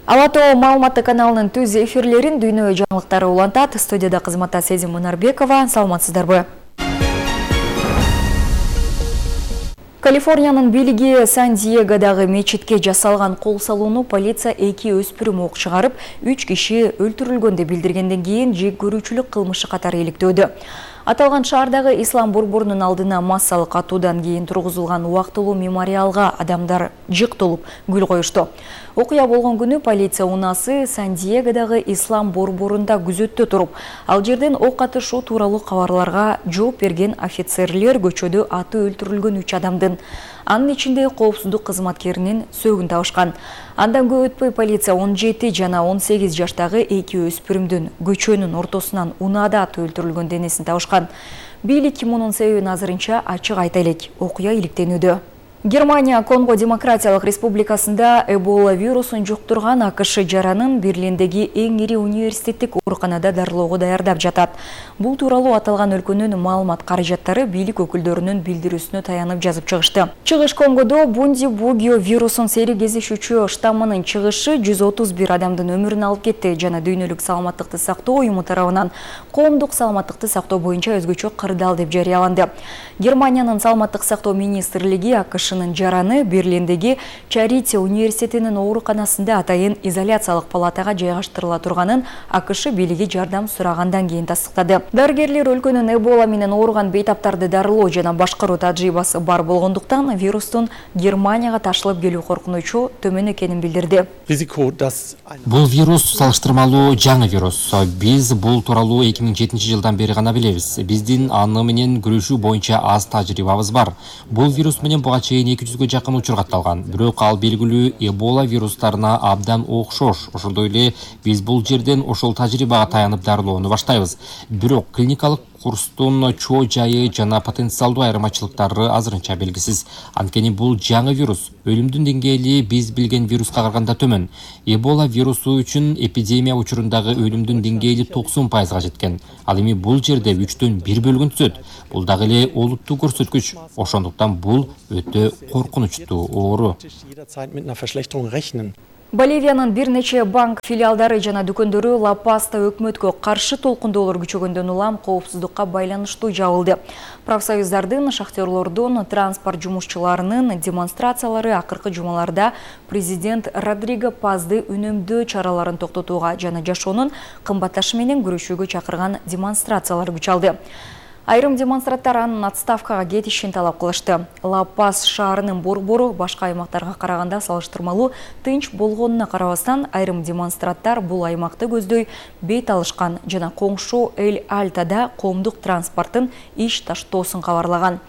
Ала Тоо маалыматтык каналынын түз эфирлерин дүйнө жаңылыктары улантат. Студияда кызматта Сезим Мунарбекова. Саламатсыздарбы? Калифорниянын бийлиги Сан-Диегодагы мечитке жасалган кол салууну полиция 2 өспүрүм ок чыгарып, 3 киши өлтүрүлгөн деп билдиргенден кийин жек көрүүчүлүк кылмышы катары иликтөөдө. Аталган шаардагы ислам борборунун алдына массалык атуудан кийин тургузулган убактылуу мемориалга адамдар жык толуп гүл коюшту. Окуя болгон күнү полиция унаасы Сан-Диегодагы ислам борборунда күзөттө туруп, ал жерден ок атышуу тууралуу кабарларга жооп берген офицерлер көчөдө аты өлтүрүлгөн 3 адамдын, анын ичинде коопсуздук кызматкеринин сөөгүн табышкан. Андан көп өтпөй полиция 17 жана 18 жаштагы 2 өспүрүмдүн көчөнүн ортосунан унаада аты өлтүрүлгөн денесин табышкан. Бийлик мунун себебин азырынча ачык айта элек. Окуя иликтенүүдө. Германия Конго Демократиялык Республикасында Эбола вирусун жуктурган АКШ жаранын Берлиндеги эң ири университеттик ооруканада дарылоого даярдап жатат. Бул тууралуу аталган өлкөнүн маалымат каражаттары бийлик өкүлдөрүнүн билдирүүсүнө таянып жазып чыгышты. Чыгыш Конгодо Бунди-Бугио вирусын сери кезишүүчү штаммынын чыгышы 131 адамдын өмүрүн алып кетти жана дүйнөлүк саламаттыкты сактоо уюму тарабынан коомдук саламаттыкты сактоо боюнча өзгөчө кырдаал деп жарыяланды. Германиянын саламаттык сактоо министрлиги АКШ жараны Берлиндеги Чарите университетинин ооруканасында атайын изоляциялык палатага жайгаштырыла турганын АКШ бийлиги жардам сурагандан кийин тастыктады. Дарыгерлер өлкөнүн Эбола менен ооруган бейтаптарды дарылоо жана башкаруу тажрыйбасы бар болгондуктан вирустун Германияга ташылып келүү коркунучу төмөн экенин билдирди. Бул вирус салыштырмалуу жаңы вирус. Биз бул тууралуу 2007-жылдан бери гана билебиз. Биздин аны менен күрөшүү боюнча аз тажрыйбабыз бар. Бул вирус менен буга чейин 200-гө жакын учур катталган. Бирок ал белгилүү Эбола вирустарына абдан окшош. Ошондой эле биз бул жерден ошол тажрыйбага таянып дарылоону баштайбыз. Бирок клиникалык курстун чоо жайы жана потенциалдуу айырмачылыктары азырынча белгисиз. Анткени бул жаңы вирус. Өлүмдүн деңгээли биз билген вируска караганда төмөн. Эбола вирусу үчүн эпидемия учурундагы өлүмдүн деңгээли 90%га жеткен. Ал эми бул жерде 3төн 1 бөлүгүн түзөт. Бул дагы эле олуттуу көрсөткүч. Ошондуктан бул өтө коркунучтуу оору. Боливиянын бир нече банк филиалдары жана дүкөндөрү Ла-Паста өкмөткө каршы толкундоолор күчөгөндөн улам коопсуздукка байланыштуу жабылды. Профсоюздардын, шахтерлордун, транспорт жумушчуларынын демонстрациялары акыркы жумаларда президент Родриго Пазды үнөмдөө чараларын токтотууга жана жашоонун кымбатташы менен күрөшүүгө чакырган демонстрациялар күч алды. Айрым демонстранттар анын отставкага кетишин талап кылышты. Ла-Пас шаарынын борбору башка аймактарга караганда салыштырмалуу тынч болгонуна карабастан, айрым демонстранттар бул аймакты көздөй бет алышкан жана коңшу Эль-Альтада коомдук транспорттун иш таштоосун кабарлаган.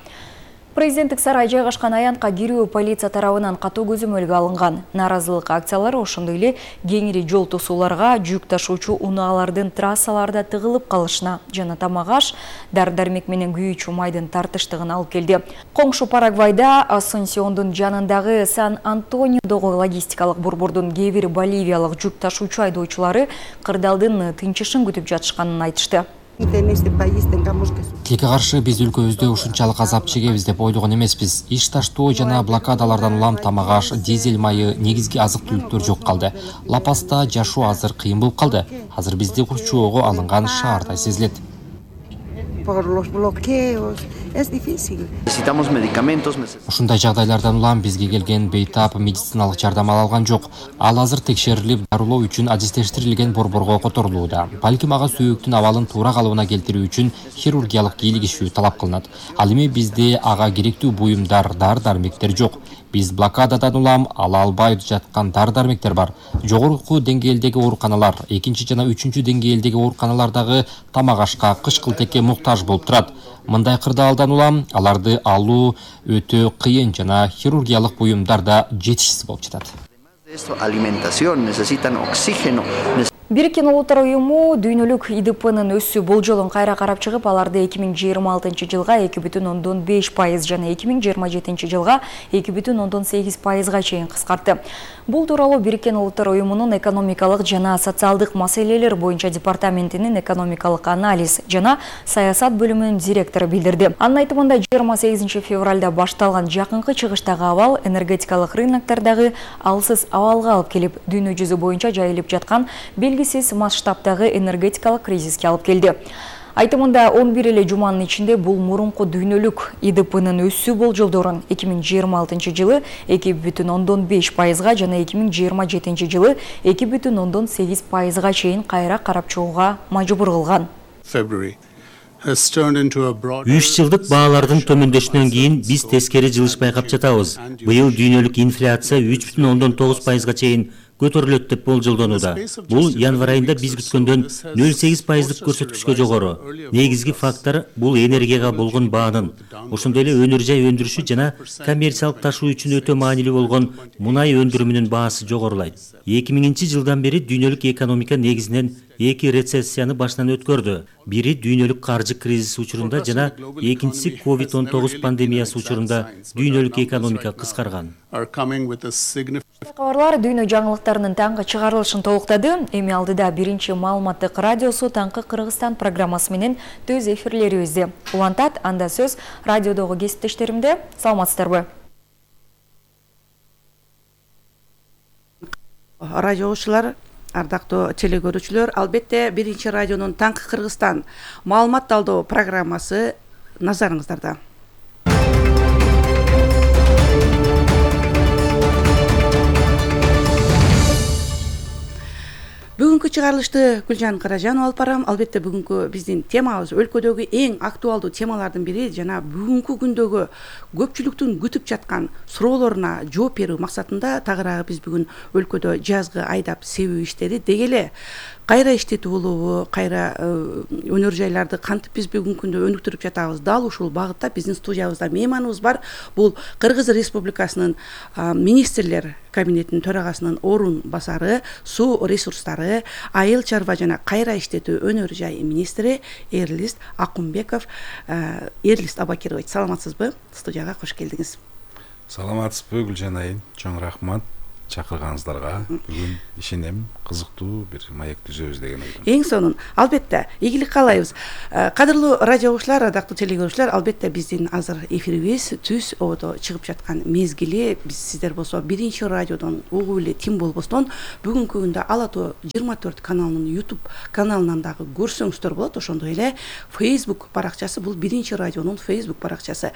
Президенттик сарай жайгашкан аянтка кирүү полиция тарабынан катуу көзөмөлгө алынган. Наразылык акциялары ошондой эле кеңири жол тосууларга, жүк ташуучу унаалардын трассаларда тыгылып калышына жана тамак-аш, дары-дармек менен күйүүчү майдын тартыштыгына алып келди. Коңшу Парагвайда Асунсиондун жанындагы Сан-Антониодогу логистикалык борбордун кээ бир боливиялык жүк ташуучу айдоочулары кырдаалдын тынчышын күтүп жатышканын айтышты. Тилекке каршы биз өлкөбүздө ушунчалык азап чегебиз деп ойлогон эмеспиз. Иш таштоо жана блокадалардан улам тамак-аш, дизель майы, негизги азык-түлүктөр жок калды. Ла-Паста жашоо азыр кыйын болуп калды. Азыр бизди курчоого алынган шаардай сезилет. Ушундай жагдайлардан улам бизге келген бейтап медициналык жардам ала алган жок. Ал азыр текшерилип, дарылоо үчүн адистештирилген борборго которулууда. Балким ага сөөктүн абалын туура калыбына келтирүү үчүн хирургиялык кийлигишүү талап кылынат. Ал эми бизде ага керектүү буюмдар, дары-дармектер жок. Биз блокададан улам ала албай жаткан дары-дармектер бар. Жогорку деңгээлдеги ооруканалар, 2 жана 3 деңгээлдеги ооруканалардагы тамак-ашка, кыш-кылтекке муктаж болуп турат. Мындай кырдаалдан улам аларды алуу өтө кыйын жана хирургиялык буюмдар да жетишсиз болуп жатат. Бириккен Улуттар уюму дүйнөлүк ИДПнын өсүү болжолун кайра карап чыгып, аларды 2026 жылга 2,5% жана 2027 жылга 2,8%га чейин кыскартты. Бул тууралуу Бириккен Улуттар Уюмунун экономикалык жана социалдык маселелер боюнча департаментинин экономикалык анализ жана саясат бөлүмүнүн директору билдирди. Анын айтымында 28 февралда башталган жакынкы чыгыштагы абал энергетикалык рыноктардагы алсыз абалга алып келип, дүйнө жүзү боюнча жайылып жаткан белгисиз масштабтагы энергетикалык кризиске алып келди. Айтымында 11 эле жуманын ичинде бул мурунку дүйнөлүк ИДПнын өсүү болжолдорун 2026 жылы 2,5%га жана 2027 жылы 2,8%га чейин кайра карап чыгууга мажбур кылган. 3 жылдык баалардын төмөндөшүнөн кийин биз тескери жылыш байкап жатабыз. Быйыл дүйнөлүк инфляция 3,9%га чейин көтөрүлөт деп болжолдонууда. Бул январь айында биз күткөндөн 0,8%дык көрсөткүчкө жогору. Негизги фактор бул энергияга болгон баанын, ошондой эле өнөр жай өндүрүшү жана коммерциялык ташуу үчүн өтө маанилүү болгон мунай өндүрүмүнүн баасы жогорулайт. 2000 жылдан бери дүйнөлүк экономика негизинен 2 рецессияны башынан өткөрдү. Бири дүйнөлүк каржы кризиси учурунда жана экинчиси COVID-19 пандемиясы учурунда дүйнөлүк экономика кыскарган. Кабарлар дүйнө жаңылыктарынын таңкы чыгарылышын толуктады. Эми алдыда биринчи маалыматтык радиосу Таңкы Кыргызстан программасы менен төз эфирлерибизди улантат. Анда сөз радиодогу кесиптештеримде. Саламатсыздарбы? Радиочулар, ардактуу телегөрүүчүлөр, албетте биринчи радионун Таңкы Кыргызстан маалымат талдоо программасы назарыңыздарда. Бүгүнкү чыгарылышты Гүлжан Каражанова алып барам. Албетте бүгүнкү биздин темабыз өлкөдөгү эң актуалдуу темалардын бири жана бүгүнкү күндөгү көпчүлүктүн күтүп жаткан суроолоруна жооп берүү максатында тагыраагы биз бүгүн өлкөдө жазгы айдап себүү иштери деги эле кайра иштетүү болобу, кайра өнөр жайларды кантип биз бүгүнкү күндө өнүктүрүп жатабыз. Дал ушул багытта биздин студиябызда мейманыбыз бар. Бул Кыргыз Республикасынын министрлер кабинетинин төрагасынын орун басары, суу ресурстары, айыл чарба жана кайра иштетүү өнөр жай министри Эрлист Акунбеков. Эрлист Абакирович, саламатсызбы? Студияга кош келдиңиз. Саламатсызбы, Гүлжан айым. Чоң рахмат чакырганыңыздарга. Бүгүн ишенем кызыктуу бир маек түзөбүз деген ойдомун. Эң сонун. Албетте ийгилик каалайбыз. Кадырлуу радиочулар, ардактуу телегөрүүчүлөр, албетте биздин азыр эфирибиз түз ободо чыгып жаткан мезгили. Биз сиздер болсо биринчи радиодон угуп эле тим болбостон бүгүнкү күндө Ала Тоо 24 каналынын YouTube каналынан дагы көрсөңүздөр болот. Ошондой эле Facebook баракчасы, бул биринчи радионун Facebook баракчасы.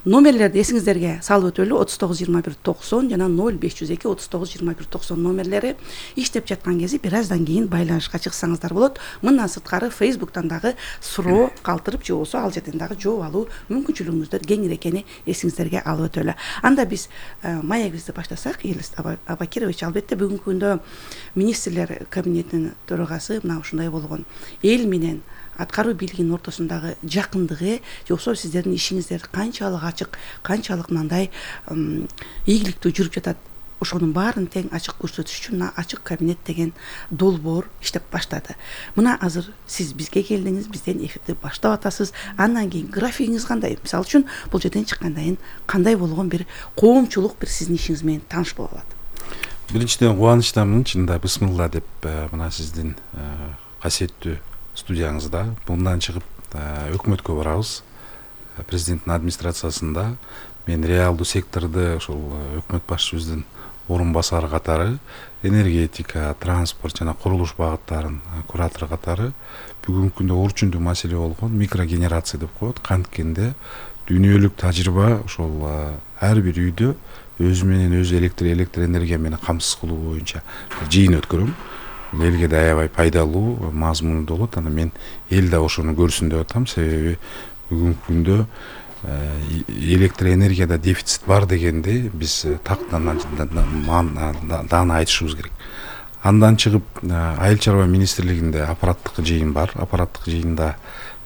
Номерлерди эсиңиздерге салып өтөлү. 39 21 90 жана 0502 39 21 90 номерлери иштеп жаткан кези бир аздан кийин байланышка чыксаңыздар болот. Мындан сырткары Facebooктан дагы суроо калтырып же болбосо ал жерден дагы жооп алуу мүмкүнчүлүгүңүздөр кеңир экени эсиңиздерге алып өтөлү. Анда биз маегибизди баштасак, Эрлист Абакирович, албетте бүгүнкү күндө министрлер кабинетинин төрагасы мына ушундай болгон. Эл менен аткаруу бийлигинин ортосундагы жакындыгы, же болбосо сиздердин ишиңиздер канчалык ачык, канчалык мындай ийгиликтүү жүрүп жатат. Ошонун баарын тең ачык көрсөтүш үчүн ачык кабинет деген долбоор иштеп баштады. Мына азыр сиз бизге келдиңиз, бизден эфирди баштап атасыз. Андан кийин графигиңиз кандай? Мисалы үчүн бул жерден чыккандан кандай болгон бир коомчулук бир сиздин ишиңиз менен тааныш боло алат? Биринчиден кубанычтамын, чынында бисмилла деп мына сиздин касиеттүү студияңызда мындан чыгып өкмөткө барабыз. Президенттин администрациясында мен реалдуу секторду ошол өкмөт башчыбыздын орун басары катары энергетика, транспорт жана курулуш багыттарын куратору катары бүгүнкү күндө орчундуу маселе болгон микрогенерация деп коет. Канткенде дүйнөлүк тажрыйба ошол ар бир үйдө өзү менен өзү электр энергия менен камсыз кылуу боюнча жыйын өткөрөм. Элге да аябай пайдалуу, мазмундуу болот. Анда мен эл да ошону көрсүн деп атам. Себеби бүгүнкү күндө электр энергияда дефицит бар дегенде биз тактан даана айтышыбыз керек. Андан чыгып айыл чарба министрлигинде аппараттык жыйын бар. Аппараттык жыйында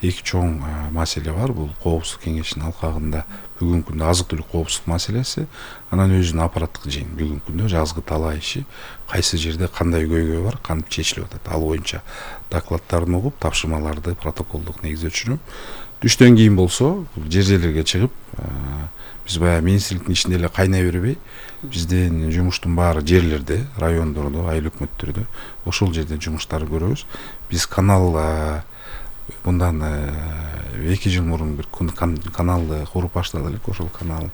эки чоң маселе бар. Бул Коопсуздук кеңешинин алкагында бүгүнкү күндө азык түлүк коопсуздук маселеси, анан өзүнүн аппараттык жыйын бүгүнкү күндө жазгы талаа иши, кайсы жерде кандай көйгөй бар, кантип чечилип атат. Ал боюнча докладдарын угуп, тапшырмаларды протоколдук негизде түшүнүп, түштөн кийин болсо жер жерлерге чыгып, биз баягы министрликтин ичинде эле кайнай бербей, биздин жумуштун баары жерлерде, райондордо, айыл өкмөттөрдө ошол жерде жумуштарды көрөбүз. Биз канал мындан 2 жыл мурун бир каналды куруп баштадык элек. Ошол каналдын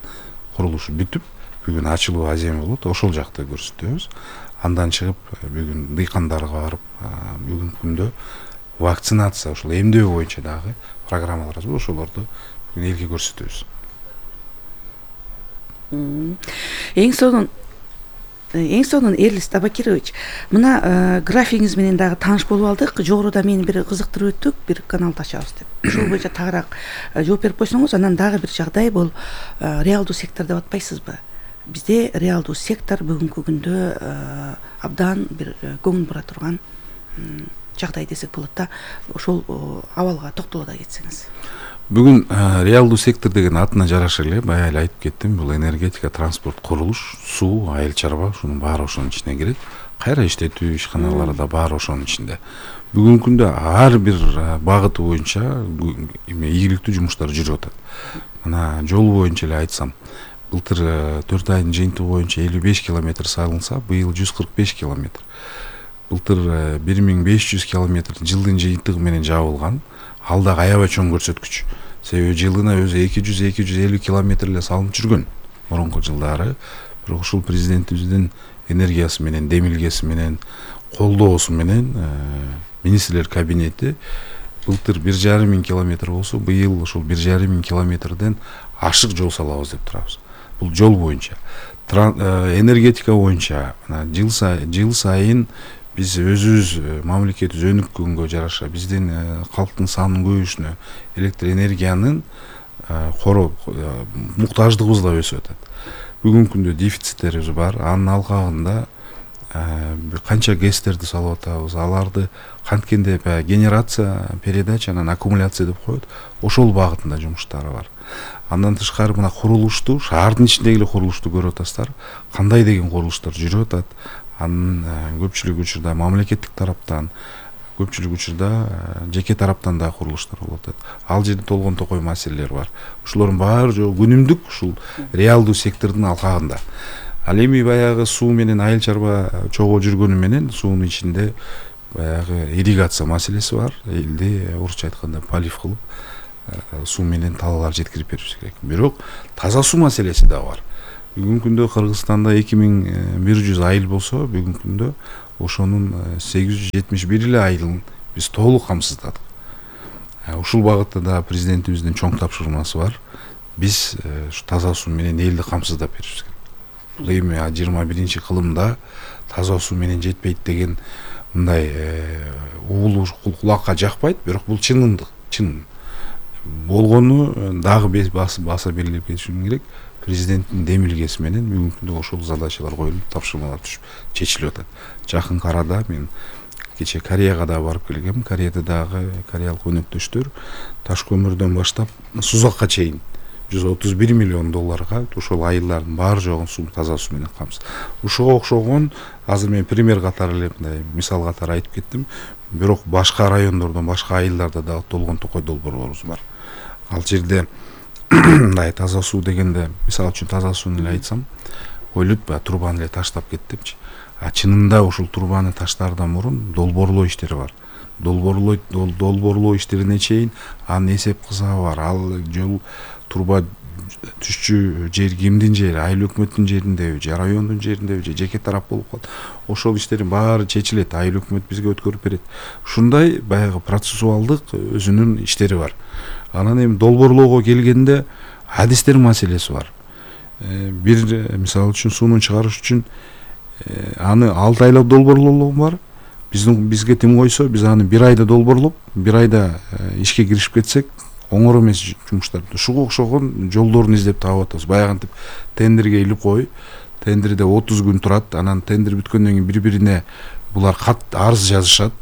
курулушу бүтүп, бүгүн ачылуу аземи болот. Ошол жакты көрсөтөбүз. Андан чыгып бүгүн дыйкандарга барып, бүгүнкү күндө вакцинация, ошол эмдөө боюнча дагы программалар бар. Ошолорду бүгүн элге көрсөтөбүз. Эң сонун Эрлис Табакирович, мына графигиңиз менен дагы тааныш болуп алдык. Жогоруда мени бир кызыктырып өттүк, бир каналды ачабыз деп. Ошол боюнча тагыраак жооп берип койсоңуз, анан дагы бир жагдай бул реалдуу сектор деп атпайсызбы? Бизде реалдуу сектор бүгүнкү күндө абдан бир көңүл бура турган жагдай десек болот да. Ошол абалга токтоло да кетсеңиз. Бүгүн реалдуу сектор деген атына жараша эле баягы эле айтып кеттим. Бул энергетика, транспорт, курулуш, суу, айыл чарба, ушунун баары ошонун ичине кирет. Кайра иштетүү ишканалары да баары ошонун ичинде. Бүгүнкү күндө ар бир багыты боюнча ийгиликтүү жумуштар жүрүп атат. Мына жол боюнча эле айтсам, былтыр 4 айдын жыйынтыгы боюнча 55 километр салынса, быйыл 145 километр. Былтыр 1500 километр жылдын жыйынтыгы менен жабылган. Ал да аябай чоң көрсөткүч. Себеби жылына өзү 200-250 километр эле салынып жүргөн мурунку жылдары. Бирок ушул президентибиздин энергиясы менен, демилгеси менен, колдоосу менен министрлер кабинети былтыр 1,5 километр болсо, быйыл ушул 1,5 километрден ашык жол салабыз деп турабыз. Бул жол боюнча. Энергетика боюнча жыл сайын биз өзүбүз мамлекетибиз өнүккөнгө жараша биздин калктын санынын көбөйүшүнө электр энергиянын муктаждыгыбыз да өсүп атат. Бүгүнкү күндө дефициттерибиз бар. Анын алкагында канча ГЭСтерди салып атабыз. Аларды канткенде генерация, передача, анан аккумуляция деп коет. Ошол багытында жумуштары бар. Андан тышкары мына курулушту, шаардын ичиндеги эле курулушту көрүп атасыздар. Кандай деген курулуштар жүрүп атат. Анын көпчүлүк учурда мамлекеттик тараптан, көпчүлүк учурда жеке тараптан да курулуштар болуп атат. Ал жерде толгон токой маселелер бар. Ушулордун баары күнүмдүк ушул реалдуу сектордун алкагында. Ал эми баягы суу менен айыл чарба чогуу жүргөнү менен суунун ичинде баягы ирригация маселеси бар. Элди орусча айтканда полив кылып суу менен талаалар жеткирип беришибиз керек. Бирок таза суу маселеси да бар. Бүгүнкү күндө Кыргызстанда 2100 айыл болсо, бүгүнкү күндө ошонун 871 эле айылын биз толук камсыздадык. Ушул багытта да президентибиздин чоң тапшырмасы бар. Биз таза суу менен элди камсыздап беришибиз керек. Бул эми 21 кылымда таза суу менен жетпейт деген мындай уулуу кулакка жакпайт, бирок бул чындык. Болгону дагы баса белгилеп кетишим керек. Президенттин демилгеси менен бүгүнкү күндө ошол задачалар коюлуп, тапшырмалар түшүп, чечилип атат. Жакынкы арада мен кече Кореяга да барып келгем. Кореяда дагы кореялык өнөктөштөр таш көмүрдөн баштап Сузакка чейин $131 миллион ошол айылдардын баары жогун суу, таза суу менен камсыз. Ушуга окшогон азыр мен пример катары эле мындай мисал катары айтып кеттим. Бирок башка райондордон, башка айылдарда дагы толгон токой долбоорлорубуз бар. Ал жерде мындай таза суу дегенде, мисалы үчүн таза сууну эле айтсам, ойлойт трубаны эле таштап кеттимчи. Чынында ушул трубаны таштаардан мурун долбоорлоо иштери бар. Долбоорлоо иштерине чейин анын эсеп кысабы бар. Ал жол труба түшчү жер кимдин жери, айыл өкмөттүн жериндеби, же райондун жериндеби, же жеке тарап болуп калат. Ошол иштердин баары чечилет, айыл өкмөт бизге өткөрүп берет. Ушундай баягы процессуалдык өзүнүн иштери бар. Анан эми долбоорлоого келгенде адистер маселеси бар. Бир мисалы үчүн сууну чыгарыш үчүн аны 6 айлап долбоорлоо бар. Бизге тим койсо, биз аны 1 айда долбоорлоп, 1 айда ишке киришип кетсек, оңор эмес жумуштар. Ушуга окшогон жолдорун издеп таап атабыз. Баягынтип тендерге илип кой, тендерде 30 күн турат, анан тендер бүткөндөн кийин бири-бирине булар кат арыз жазышат.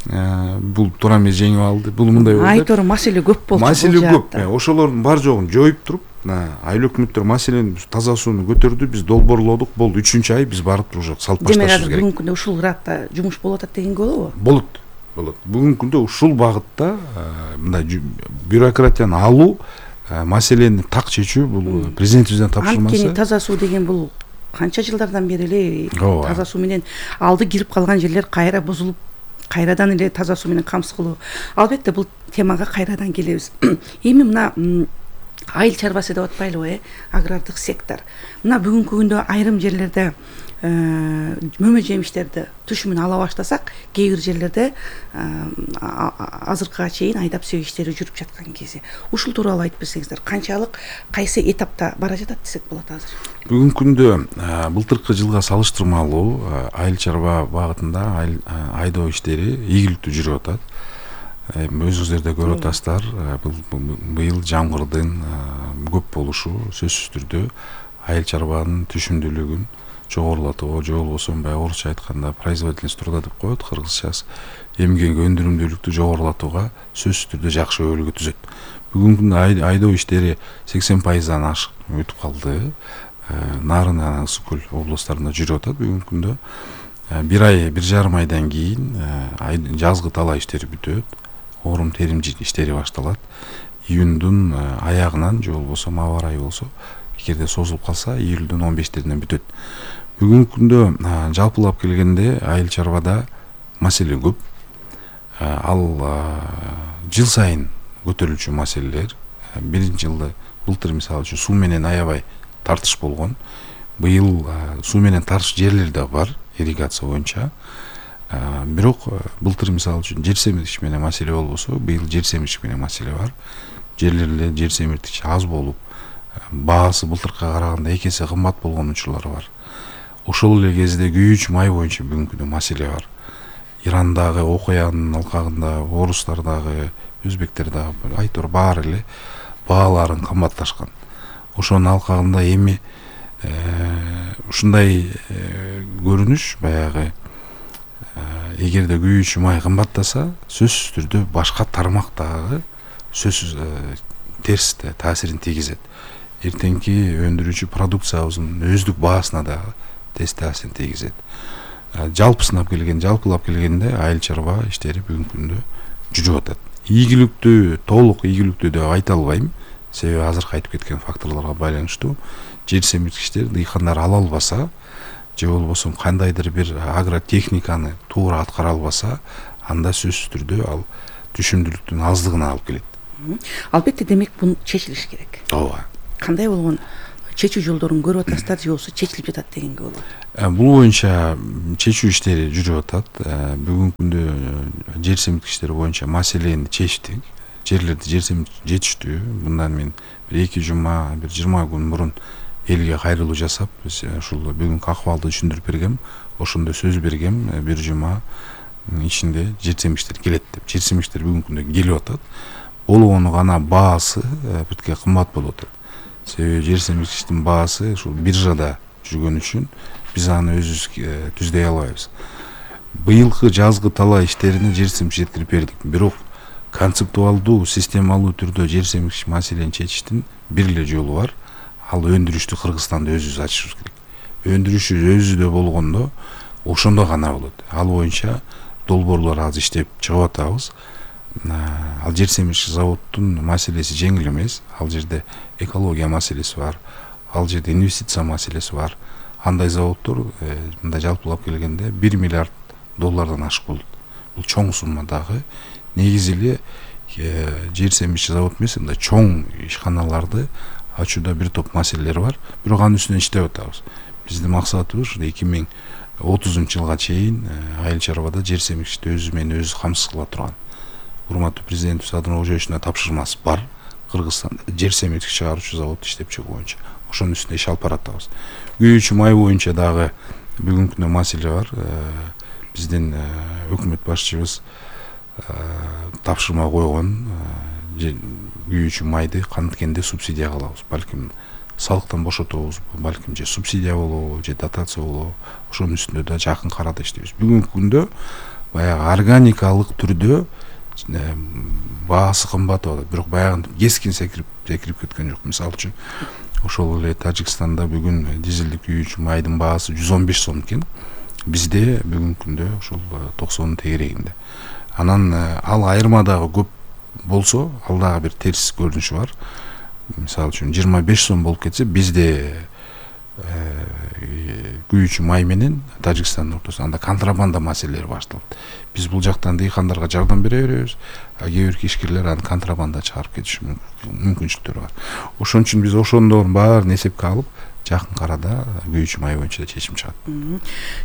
бул туура эмес жеңип алды. Бул мындай болду. Айтор маселе көп болчу. Маселе көп. Ошолордун бар жогун жоюп туруп, айыл өкмөттөр маселени таза сууну көтөрдү, биз долбоорлодук. Болду 3-чү ай биз барып туруп уже салып башташыбыз керек. Демек бүгүнкү күндө ушул градта жумуш болуп атат дегенге болобу? Болот. Бүгүнкү күндө ушул багытта мындай бюрократияны алуу, маселени так чечүү бул президентибизден тапшырмасы. Анткени таза суу деген бул канча жылдардан бери эле таза суу менен алды кирип калган жерлер кайра бузулуп, кайрадан эле таза суу менен камсыз кылуу. Албетте бул темага кайрадан келебиз. Эми мына айыл чарбасы деп атпайлыбы, агрардык сектор. Мына бүгүнкү күндө айрым жерлерде мөмө жемиштерди туш менен ала баштасак, кээ бир жерлерде азыркыга чейин айдап сөй иштери жүрүп жаткан кези. Ушул тууралуу айтып берсеңиздер, канчалык кайсы этапта бара жатат десек болот азыр? Бүгүнкү күндө былтыркы жылга салыштырмалуу айыл чарба багытында айдоо иштери ийгиликтүү жүрүп атат. Өзүңүздөр да көрүп атасыздар, быйыл жамгырдын көп болушу сөзсүз түрдө айыл чарбанын түшүмдүүлүгүн жогорулатууга, же болбосо баягы орусча айтканда производительность труда деп коет, кыргызчасы эмгек өндүрүмдүүлүктү жогорулатууга сөзсүз түрдө жакшы өбөлгө түзөт. Бүгүнкү күндө айдоо иштери 80%дан ашык өтүп калды. Нарын жана Ысык көл областарында жүрүп атат. Бүгүнкү күндө 1,5 айдан кийин жазгы талаа иштери бүтөт. Орум терим иштери башталат. Июндун аягынан же болбосо маба ырайы болсо, эгерде созулуп калса, июлдун 15-леринен бүтөт. Бүгүнкү күндө жалпылап келгенде айыл чарбада маселе көп. Ал жыл сайын көтөрүлчү маселелер. Биринчи жылда былтыр мисалы үчүн суу менен аябай тартыш болгон. Быйыл суу менен тартыш жерлер да бар, ирригация боюнча. Бирок былтыр мисалы үчүн жер семиртиш менен маселе болбосо, быйыл жер семиртиш менен маселе бар. Жерлерде жер семиртиш аз болуп, баасы былтыркыга караганда 2 эсе кымбат болгон учурлар бар. Ошол эле кезде күйүүчү май боюнча бүгүнкү күндө маселе бар. Ирандагы окуянын алкагында, орустардагы, өзбектердагы айтор баары эле бааларын кымбатташкан. Ошонун алкагында эми ушундай көрүнүш баягы эгерде күйүүчү май кымбаттаса, сөзсүз түрдө башка тармактагы сөзсүз терс таасирин тийгизет. Эртеңки өндүрүүчү продукциябыздын өздүк баасына да терс таасирин тийгизет. Жалпылап келгенде айыл чарба иштери бүгүнкү күндө жүрүп атат. Ийгиликтүү, толук ийгиликтүү деп айта албайм. Себеби азыркы айтып кеткен факторлорго байланыштуу жер семирткичтер дыйкандар ала албаса, же болбосо кандайдыр бир агротехниканы туура аткара албаса, анда сөзсүз түрдө ал түшүмдүүлүктүн аздыгына алып келет. Албетте, демек бул чечилиш керек. Ооба. Кандай болгон чечүү жолдорун көрүп атасыздар, же болбосо чечилип жатат дегенге болот? Бул боюнча чечүү иштери жүрүп атат. Бүгүнкү күндө жер семирткичтер боюнча маселени чечтик. Жерлерди жер семиртип жетиштүү. Мындан мен 1-2 жума, 20 күн мурун элге кайрылуу жасап, ушул бүгүнкү акыбалды түшүндүрүп бергем. Ошондо сөз бергем, 1 жума ичинде жер семирткичтер келет деп. Жер семирткичтер бүгүнкү күндө келип атат. Болгону гана баасы бирке кымбат болуп атат. Себеби жер семирткичтин баасы ушул биржада жүргөн үчүн биз аны өзүбүз түздөй албайбыз. Быйылкы жазгы талаа иштерине жер семирткич жеткирип бердик. Бирок концептуалдуу, системалуу түрдө жер семирткич маселени чечиштин бир эле жолу бар. Ал өндүрүштү Кыргызстанда өзүбүз ачышыбыз керек. Өндүрүшү өзүдө болгондо ошондо гана болот. Ал боюнча долбоорлор азыр иштеп чыгып атабыз. Ал жер семирткич заводдун маселеси жеңил эмес. Ал жерде экология маселеси бар. Ал жерде инвестиция маселеси бар. Андай заводдор мындай жалпылап келгенде $1 миллиард ашык болот. Бул чоң сумма дагы. Негизи эле жер семирткич завод эмес, мындай чоң ишканаларды ачууда бир топ маселелер бар. Бирок анын үстүнөн иштеп атабыз. Биздин максатыбыз 2030 жылга чейин айыл чарбада жер семирткичти өзү менен өзү камсыз кыла турган. Урматтуу президентибиз Садыр Ожоевичтин тапшырмасы бар. Кыргызстанда жер семирткич чыгаруучу завод иштеп чыгуу боюнча. Ошонун үстүндө иш алып баратабыз. Күйүүчү май боюнча дагы бүгүнкү күндө маселе бар. Биздин өкмөт башчыбыз тапшырма койгон күйүүчү майды канткенде субсидия кылабыз. Балким салыктан бошотобуз, балким же субсидия болобу, же дотация болобу. Ошонун үстүндө да жакын карада иштейбиз. Бүгүнкү күндө баягы органикалык түрдө баасы кымбат болот, бирок баягы кескин секирип кеткен жок. Мисалы үчүн ошол эле Тажикстанда бүгүн дизелдик күйүүчү майдын баасы 115 сом экен. Бизде бүгүнкү күндө ошол 90 тегерегинде. Анан ал айырма дагы көп болсо, ал дагы бир терс көрүнүшү бар. Мисалы үчүн 25 сом болуп кетсе, бизде күйүүчү май менен Тажикстандын ортосунда анда контрабанда маселелери башталат. Биз бул жактан дыйкандарга жардам бере беребиз, а кээ бир кишкерлер аны контрабанда чыгарып кетиш мүмкүнчүлүктөрү бар. Ошон үчүн биз ошондордун баарын эсепке алып, жакын арада күйүүчү май боюнча чечим чыгат.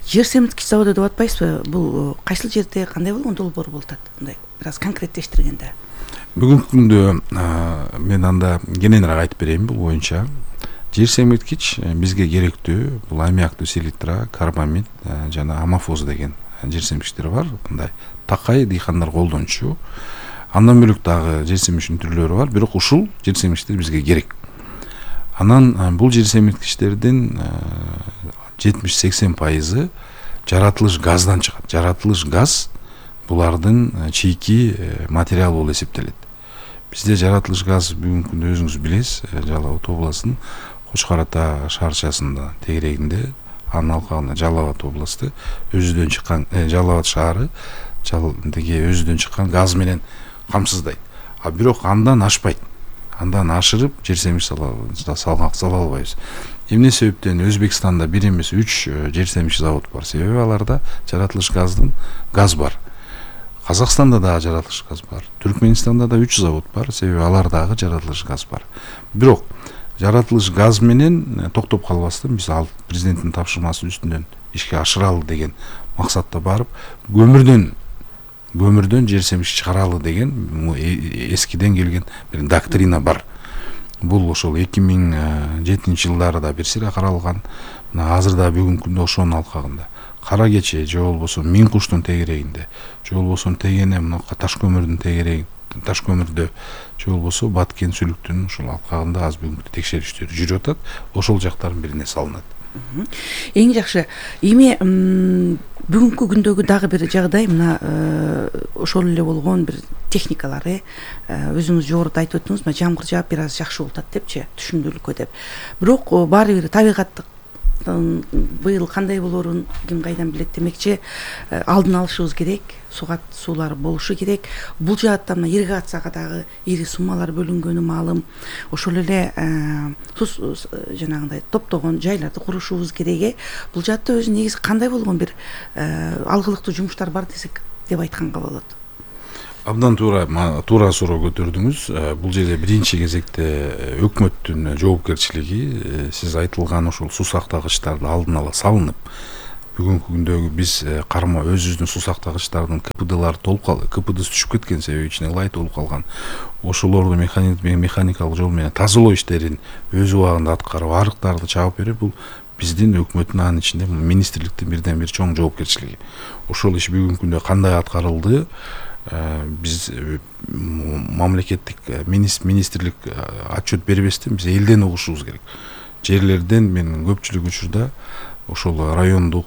Жер семирткич заводу деп атпайсызбы? Бул кайсыл жерде, кандай болгон долбоор болуп атат? Мындай бир аз конкреттештиргенде. Бүгүнкү күндө мен анда кененирээк айтып берейин бул боюнча. Жер семирткич бизге керектүү бул аммиактуу селитра, карбамид жана амофоз деген жер семирткичтер бар. Мындай такай дыйкандар колдончу. Андан бөлөк дагы жер семирткичтин түрлөрү бар, бирок ушул жер семирткичтер бизге керек. Анан бул жер семирткичтердин 70-80% жаратылыш газдан чыгат. Жаратылыш газ булардын чийки материалы болуп эсептелет. Бизде жаратылыш газ бүгүнкү күндө өзүңүз билесиз, Жалал Абад областынын Кочкор Ата шаарчасында тегерегинде, анын алкагында Жалал Абад областы өзүдөн чыккан Жалал Абад шаары деге өзүдөн чыккан газ менен камсыздайт. А бирок андан ашпайт. Андан ашырып жер семирткич сала албайбыз. Эмне себептен Өзбекстанда бир эмес 3 жер семирткич завод бар. Себеби аларда жаратылыш газ бар. Казакстанда дагы жаратылыш газ бар. Түркменистанда да 3 завод бар. Себеби алардагы жаратылыш газ бар. Бирок жаратылыш газ менен токтоп калбастан биз ал президенттин тапшырмасы үстүнөн ишке ашыралы деген максатта барып, көмүрдөн жер семирткич чыгаралы деген эскиден келген бир доктрина бар. Бул ошол 2007-жылдарда бир сыйра каралган. Азырда бүгүнкү күндө ошонун алкагында Кара Кече же болбосо Миң куштун тегерегинде, же болбосо Тегене мынакы таш көмүрдүн тегерегинде, таш көмүрдө, же болбосо Баткен сүлүктүнүн ушул алкагында аз бүгүнкү текшерүүчүлөр жүрүп атат. Ошол жактардын бирине салынат. Эң жакшы. Эми бүгүнкү күндөгү дагы бир жагдай мына ошол эле болгон бир техникалары өзүңүз жогоруда айтып өттүңүз, мына жамгыр жаап бир аз жакшы болуп атат депчи, түшүндүрүлүккө деп. Бирок баары бир табигаттык быйыл кандай болорун ким кайдан билет демекчи, алдын алышыбыз керек, суулар болушу керек. Бул жаатта мына ирригацияга дагы ири суммалар бөлүнгөнү маалым. Ошол эле жанагындай топтогон жайларды курушубуз керек. Бул жаатта өзү негизи кандай болгон бир алгылыктуу жумуштар бар десек деп айтканга болот. Абдан туура суроо көтөрдүңүз. Бул жерде биринчи кезекте өкмөттүн жоопкерчилиги, сиз айтылган ошол суу сактагычтарды алдын ала салынып, бүгүнкү күндөгү биз карма өзүбүздүн суу сактагычтардын КПДлары толуп калды. КПДсы түшүп кеткен себеби ичине ылай толуп калган. Ошолорду механикалык жол менен тазалоо иштерин өз убагында аткарып, арыктарды чаап берип, бул биздин өкмөттүн анын ичинде министрликтин бирден бир чоң жоопкерчилиги. Ошол иш бүгүнкү күндө кандай аткарылды? Биз мамлекеттик министрлик отчет бербестен биз элден угушубуз керек. Жерлерден мен көпчүлүк учурда ошол райондук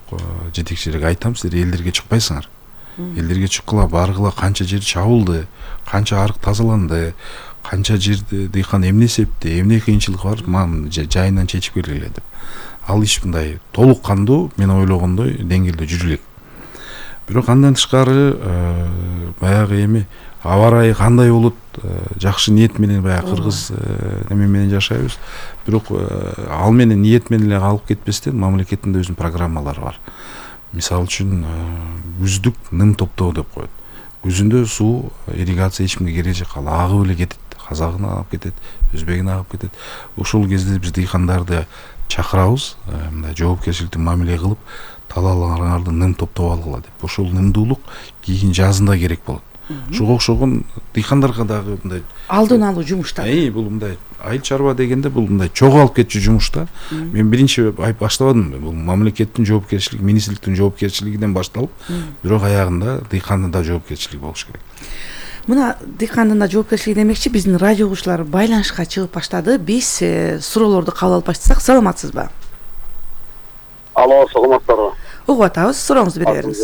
жетекчилерге айтам, силер элдерге чыкпайсыңар. Элдерге чыккыла, баргыла, канча жер чабылды, канча арык тазаланды, канча жерде дыйкан эмне эсепте, эмне кыйынчылык бар, жайынан чечип келгиле деп. Ал иш мындай толук кандуу, мен ойлогондой деңгээлде жүрө элек. Бирок андан тышкары баягы эми аба ырайы кандай болот, жакшы ниет менен баягы кыргыз неме менен жашайбыз. Бирок ал менен ниет менен эле калып кетпестен мамлекеттин өзүнүн программалары бар. Мисалы үчүн күздүк ным топтоо деп коет. Күзүндө суу ирригация эч кимге кереги жок, ал агып эле кетет. Казагын агып кетет, өзбегин агып кетет. Ошол кезде биз дыйкандарды чакырабыз, мындай жоопкерчиликтүү мамиле кылып, талааларыңарды ным топтоп алгыла деп. Ошол нымдуулук кийин жазында керек болот. Ошого окшогон дыйкандарга дагы мындай алдын алуу жумуштар. Бул мындай айыл чарба дегенде бул мындай чогулуп кетчү жумушта. Мен биринчи баштабадым. Бул мамлекеттин жоопкерчилиги, министрликтин жоопкерчилигинен башталып, бирок аягында дыйкандын да жоопкерчилиги болуш керек. Мына дыйкандын да жоопкерчилиги демекчи, биздин радио угуучулар байланышка чыгып баштады. Биз суроолорду кабыл алып баштасак, саламатсызбы? Алло, саламатсыздарбы? Угуп атабыз, сурооңузду бере бериңиз.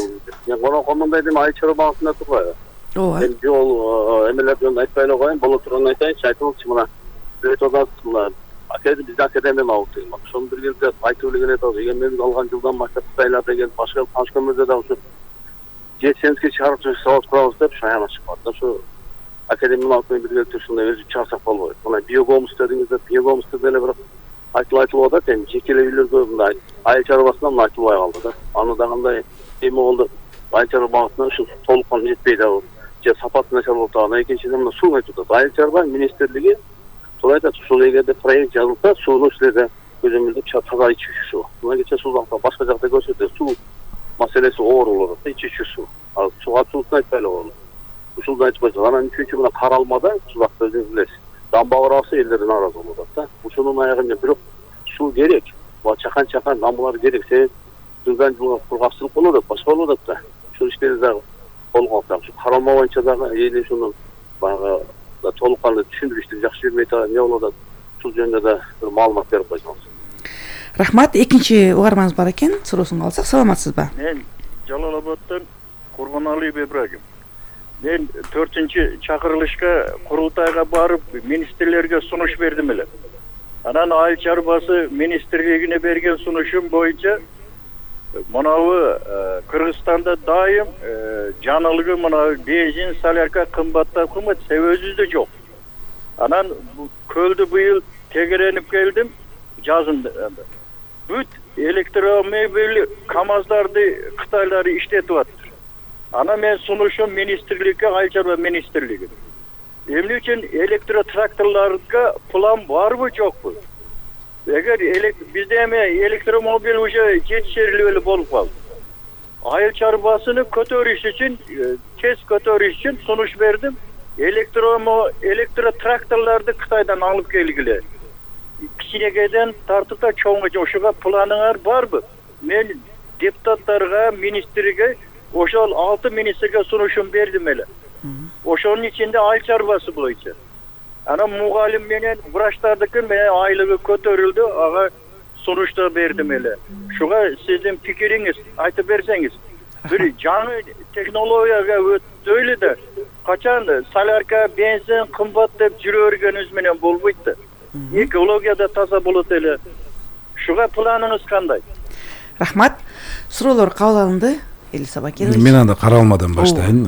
мен конокомундай дем айыл чарба багытында турбайбы? ооба. Мен жол эмелер жөнүндө айтпай эле коеюн, боло турганын айтайынчы, айтылчу мына. Бирет одасы мына бизде академия алып деген бар. Ошону биргеликте айтып эле келет. Эгемендик алган жылдан баштап Кытайлар деген башка таныш көмөрдө да ушу жетсеңизге чыгарып завод курабыз деп шаяна чыккан. Ошо академияны алып биргеликте ушундай өзү чыгарсак болбойт. Мына биогомус дедиңиздер, биогомусты деле бирок айтылып атат, эми жекелей үйлөргө мындай айыл чарбасынан айтылбай калды да. Аны да кандай эми болду? Айыл чарба багытына ушу толук жетпей дагы же сапаты начар болуп калган. Экинчиден мына суу айтып атат. Айыл чарба министрлиги тура айтат, ушул эгерде проект жазылса, сууну силерде көзөмөлдөп таза ичүү суу. Мына кече суулукта башка жакта көрсөтөт, суу маселеси оор болот да, ичүү суу. Ал сууга суусун айтпай эле коелу. Ушулду айтпайсыз. Анан үчүнчү мына Каралмада Сузакта өзүңүз билесиз. Дамба курабаса элдер нааразы болуп атат да. Ушунун аягында бирок суу керек. Чакан дамбалар керек. Себеби жылдан жылга кургакчылык болуп атат, башка болуп атат да. Ушул иштерди дагы колго алсак, Каралма боюнча дагы эли ушуну баягы толук кандуу түшүндүрүштү жакшы бербей атат, эмне болуп атат? Ушул жөнүндө да бир маалымат берип койсоңуз. Рахмат. Экинчи угарманыбыз бар экен. Суроосун алсак, саламатсызбы? Мен Жалал Абадтан Курбаналиев Ибрагим. Мен 4-чакырылышка курултайга барып, министрлерге сунуш бердим эле. Анан айыл чарбасы министрлигине берген сунушум боюнча мынабы Кыргызстанда дайым жанылгы мына бензин, солярка кымбаттап кымбат, себебибизде жок. Анан көлдү быйыл тегеренип келдим жазында. Бүт электромобиль КАМАЗдарды Кытайлар иштетип атат. Ана мен сунушум министрликке, айыл чарба министрлиги. Эмне үчүн электротракторларга план барбы жокпу? Эгер бизде эми электромобиль уже жетишерлүү эле болуп калды. Айыл чарбасыны көтөрүш үчүн, тез көтөрүш үчүн сунуш бердим. Электротракторларды Кытайдан алып келгиле. Кичинекейден тартып да чоңго ошого планыңар барбы? Мен депутаттарга, министрге ошол 6 министрге сунушум бердим эле. Ошонун ичинде айыл чарбасы боюнча. Анан мугалим менен врачтардыкы менен айлыгы көтөрүлдү, ага сунушта бердим эле. Шуга сиздин пикириңиз айтып берсеңиз. Бир жаңы технологияга өтөлү да, качан солярка, бензин кымбат деп жүрө бергенибиз менен болбойт да. Экология да таза болот эле. Шуга планыңыз кандай? Рахмат. Суроолор кабыл алынды. Элиса Бакирович. Мен анда Каралмадан баштайын.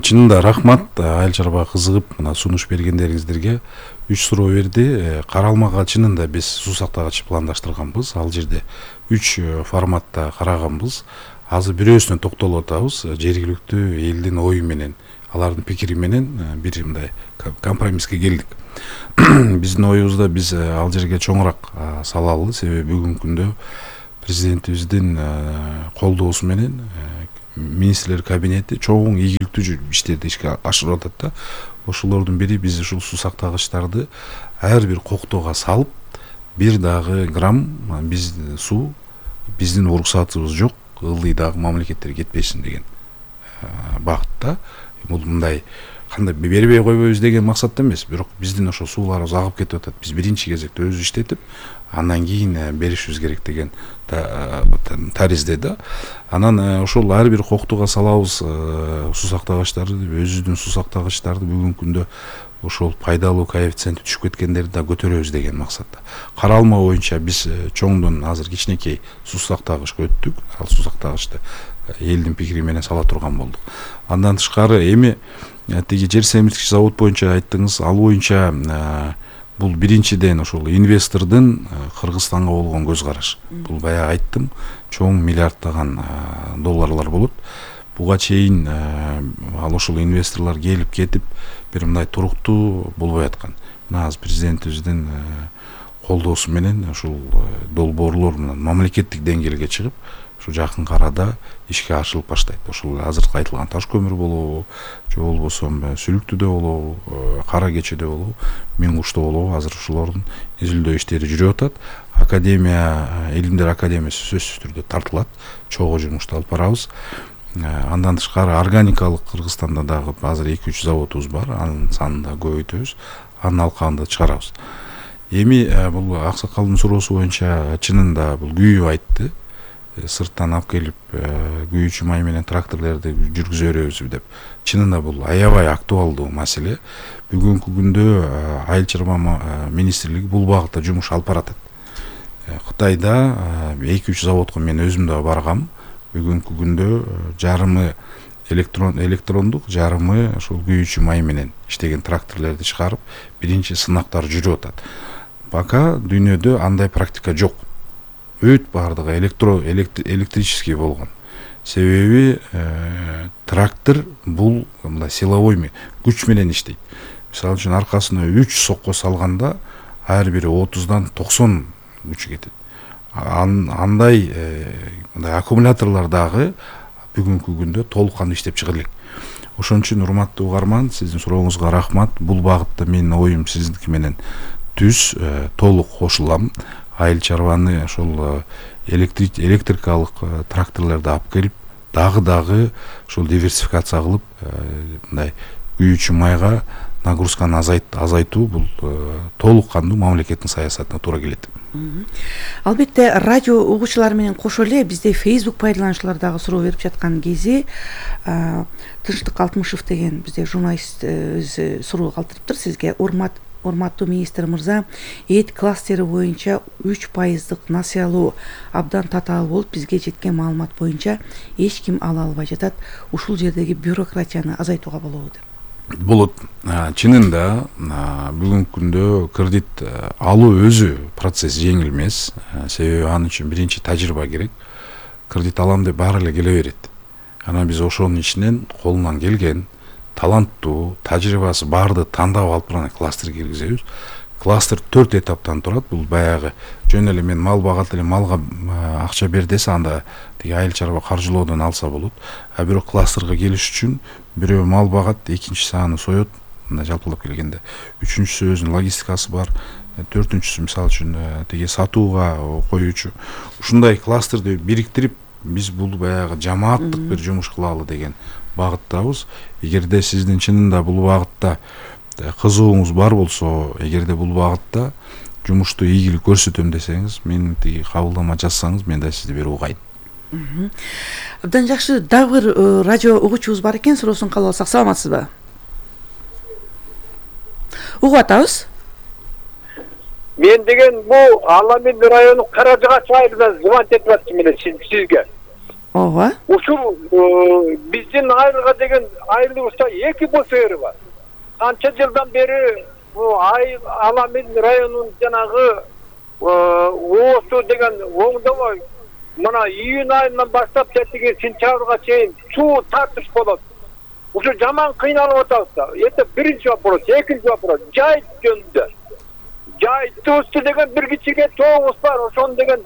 Чынында рахмат, айыл чарбага кызыгып мына сунуш бергендериңиздерге 3 суроо берди. Каралмага чынында биз суу сактагыч пландаштырганбыз. Ал жерде 3 форматта караганбыз. Азыр бирөөсүнө токтолуп атабыз. Жергиликтүү элдин ою менен, алардын пикири менен бир мындай компромисске келдик. Биздин оюбузда биз ал жерге чоңураак салалы, себеби бүгүнкү күндө президентибиздин колдоосу менен министрлер кабинети чоң ийгиликтүү иштерди ишке ашырып атат да. Ошолордун бири биз ушул суу сактагычтарды ар бир коктоого салып, бир дагы грамм биз суу биздин уруксатыбыз жок, ылдый дагы мамлекеттерге кетпесин деген багытта. Бул мындай кандай бербей койбойбуз деген максатта эмес, бирок биздин ошо сууларыбыз агып кетип атат. Биз биринчи кезекте өзү иштетип, андан кийин беришибиз керек деген таризде да. Анан ошол ар бир коктуга салабыз суу сактагычтарды, өзүбүздүн суу сактагычтарды бүгүнкү күндө ошол пайдалуу коэффициенти түшүп кеткендерди да көтөрөбүз деген максатта. Каралма боюнча биз чоңдон азыр кичинекей суу сактагычка өттүк. Ал суу сактагычты элдин пикири менен сала турган болдук. Андан тышкары эми тиги жер семирткич завод боюнча айттыңыз, ал боюнча бул биринчиден ошол инвестордун Кыргызстанга болгон көз караш. Бул баягы айттым, чоң миллиарддаган долларлар болот. Буга чейин ал ошол инвесторлор келип кетип бир мындай туруктуу болбой аткан. Мына азыр президентибиздин колдоосу менен ушул долбоорлор менен мамлекеттик деңгээлге чыгып, ушу жакын арада ишке ашырылып баштайт. Ошол азыркы айтылган таш көмүр болобу, же болбосо Сүлүктүдө болобу, Кара Кечеде болобу, Миң Кушта болобу, азыр ушулордун изилдөө иштери жүрүп атат. Академия, Илимдер академиясы сөзсүз түрдө тартылат, чогуу жумушту алып барабыз. Андан тышкары органикалык Кыргызстанда дагы азыр 2-3 заводубуз бар, анын санын да көбөйтөбүз, анын алкагында чыгарабыз. Эми бул аксакалдын суроосу боюнча чынында бул күйүп айтты. сырттан алып келип күйүүчү май менен тракторлорду жүргүзө беребизби деп. Чынында бул аябай актуалдуу маселе. Бүгүнкү күндө Айыл чарба министрлиги бул багытта жумуш алып баратат. Кытайда 2-3 заводко мен өзүм да баргам. Бүгүнкү күндө жарымы электрондук, жарымы ошол күйүүчү май менен иштеген тракторлорду чыгарып, биринчи сынактар жүрүп атат. Пока дүйнөдө андай практика жок. Өт бардыгы электрический болгон. Себеби трактор бул мындай силовой күч менен иштейт. Мисалы үчүн аркасына 3 сокко салганда ар бири 30дан 90 күч кетет. Андай аккумуляторлор дагы бүгүнкү күндө толук кандуу иштеп чыга элек. Ошон үчүн урматтуу угарман, сиздин сурооңузга рахмат. Бул багытта менин оюм сиздики менен түз, толук кошулам. Айыл чарбаны ошол электрикалык тракторлорду алып келип, дагы ошол диверсификация кылып, мындай күйүүчү майга нагрузканы азайтуу бул толук кандуу мамлекеттин саясатына туура келет. Албетте радио угуучулар менен кошо эле бизде Facebook пайдалануучулар дагы суроо берип жаткан кези Тынчтык Алтымышев деген бизде журналист суроо калтырыптыр сизге. Урматтуу министр мырза, эт кластери боюнча 3% насыялоо абдан татаал болуп, бизге жеткен маалымат боюнча эч ким ала албай жатат. Ушул жердеги бюрократияны азайтууга болобу деп. Болот. Чынында бүгүнкү күндө кредит алуу өзү процесс жеңил эмес. Себеби анын үчүн биринчи тажрыйба керек. Кредит алам деп баары эле келе берет. Анан биз ошонун ичинен колунан келген таланттуу, тажрыйбасы барды тандап алып барган кластер киргизебиз. Кластер 4 этаптан турат. Бул баягы жөн эле мен мал багат эле малга акча бер десе, анда тиги айыл чарба каржылоодон алса болот. А бирок кластерге келиш үчүн бирөө мал багат, экинчиси аны соет, мындай жалпылап келгенде. Үчүнчүсү өзүнүн логистикасы бар. Төртүнчүсү мисалы үчүн тиги сатууга коюучу. Ушундай кластерди бириктирип, биз бул баягы жамааттык бир жумуш кылалы деген багыттабыз. Эгерде сиздин чынында бул багытта кызыгууңуз бар болсо, эгерде бул багытта жумушту ийгилик көрсөтөм десеңиз, мен тиги кабылдама жазсаңыз, мен да сизди берип угайын. Абдан жакшы. Дагы бир радио угуучубуз бар экен, суроосун кабыл алсак. Саламатсызбы? Угуп атабыз. Мен деген бул Аламин району Каражыгач айылынан звонить этип атчымын эле сизге. Ооба. Ушул биздин айылга деген айылыбызда 2 БСР бар. Канча жылдан бери Аламин районунун жанагы оосу деген оңдобой мына июнь айынан баштап тетиги сентябрга чейин суу тартыш болот. Ушу жаман кыйналып атабыз да. Это биринчи вопрос. Экинчи вопрос. Жайыт жөнүндө. Жайыттыбызды деген бир кичине тоогубуз бар. Ошон деген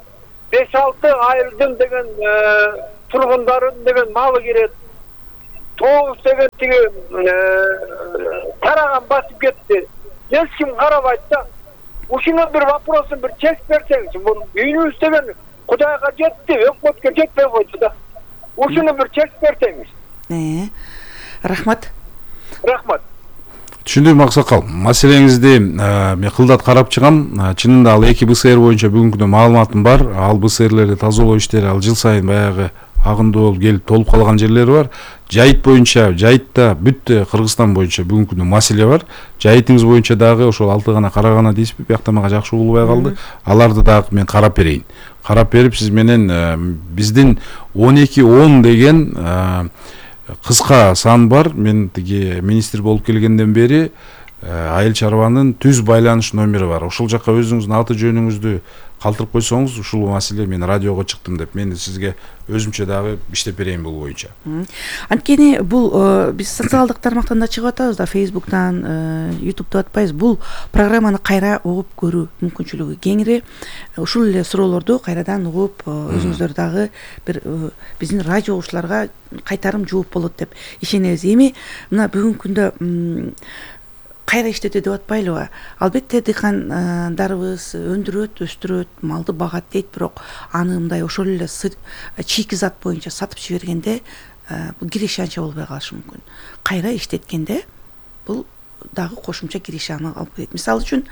5-6 айылдын деген тургундарын деген малы кирет. Тоогубуз деген тиги тараган басып кетти. Эч ким карабайт да. Ушуга бир вопросын бир чек берсеңиз, бул үйүнүбүз деген Кудайга жетти, өкмөткө жетпей койду да. Ушуну бир чек берсеңиз. Рахмат. Рахмат. Түшүндүм Аксакал. Маселеңизди мен кылдат карап чыгам. Чынында ал 2 БСР боюнча бүгүнкү күндө маалыматым бар. Ал БСРлерди тазалоо иштери ал жыл сайын баягы агындуу болуп келип толуп калган жерлери бар. Жайыт боюнча, Жайытта бүт Кыргызстан боюнча бүгүнкү күндө маселе бар. Жайытыңыз боюнча дагы ошол 6 гана карагана дейсизби? Биякта мага жакшы угулбай калды. Аларды дагы мен карап берейин. Карап берип сиз менен биздин 12-10 деген кыска сан бар. Мен тиги министр болуп келгенден бери айыл чарбанын түз байланыш номери бар. Ошол жака өзүңүздүн аты жөнүңүздү калтырып койсоңуз, ушул маселе мен радиого чыктым деп мен сизге өзүмчө дагы иштеп берейин бул боюнча. Анткени бул биз социалдык тармактан да чыгып атабыз да, Facebook'тан, YouTube'да атпайбыз. Бул программаны кайра угуп көрүү мүмкүнчүлүгү кеңири. Ушул эле суроолорду кайрадан угуп, өзүңүздөр дагы бир биздин радио угуучуларга кайтарым жооп болот деп ишенебиз. Эми мына бүгүнкү күндө кайра иштетүү деп атпайлыбы? Албетте дыйкандарыбыз өндүрөт, өстүрөт, малды багат дейт, бирок аны мындай ошол эле чийки зат боюнча сатып жибергенде бул киреше анча болбой калышы мүмкүн. Кайра иштеткенде бул дагы кошумча киришаны алып келет. Мисалы үчүн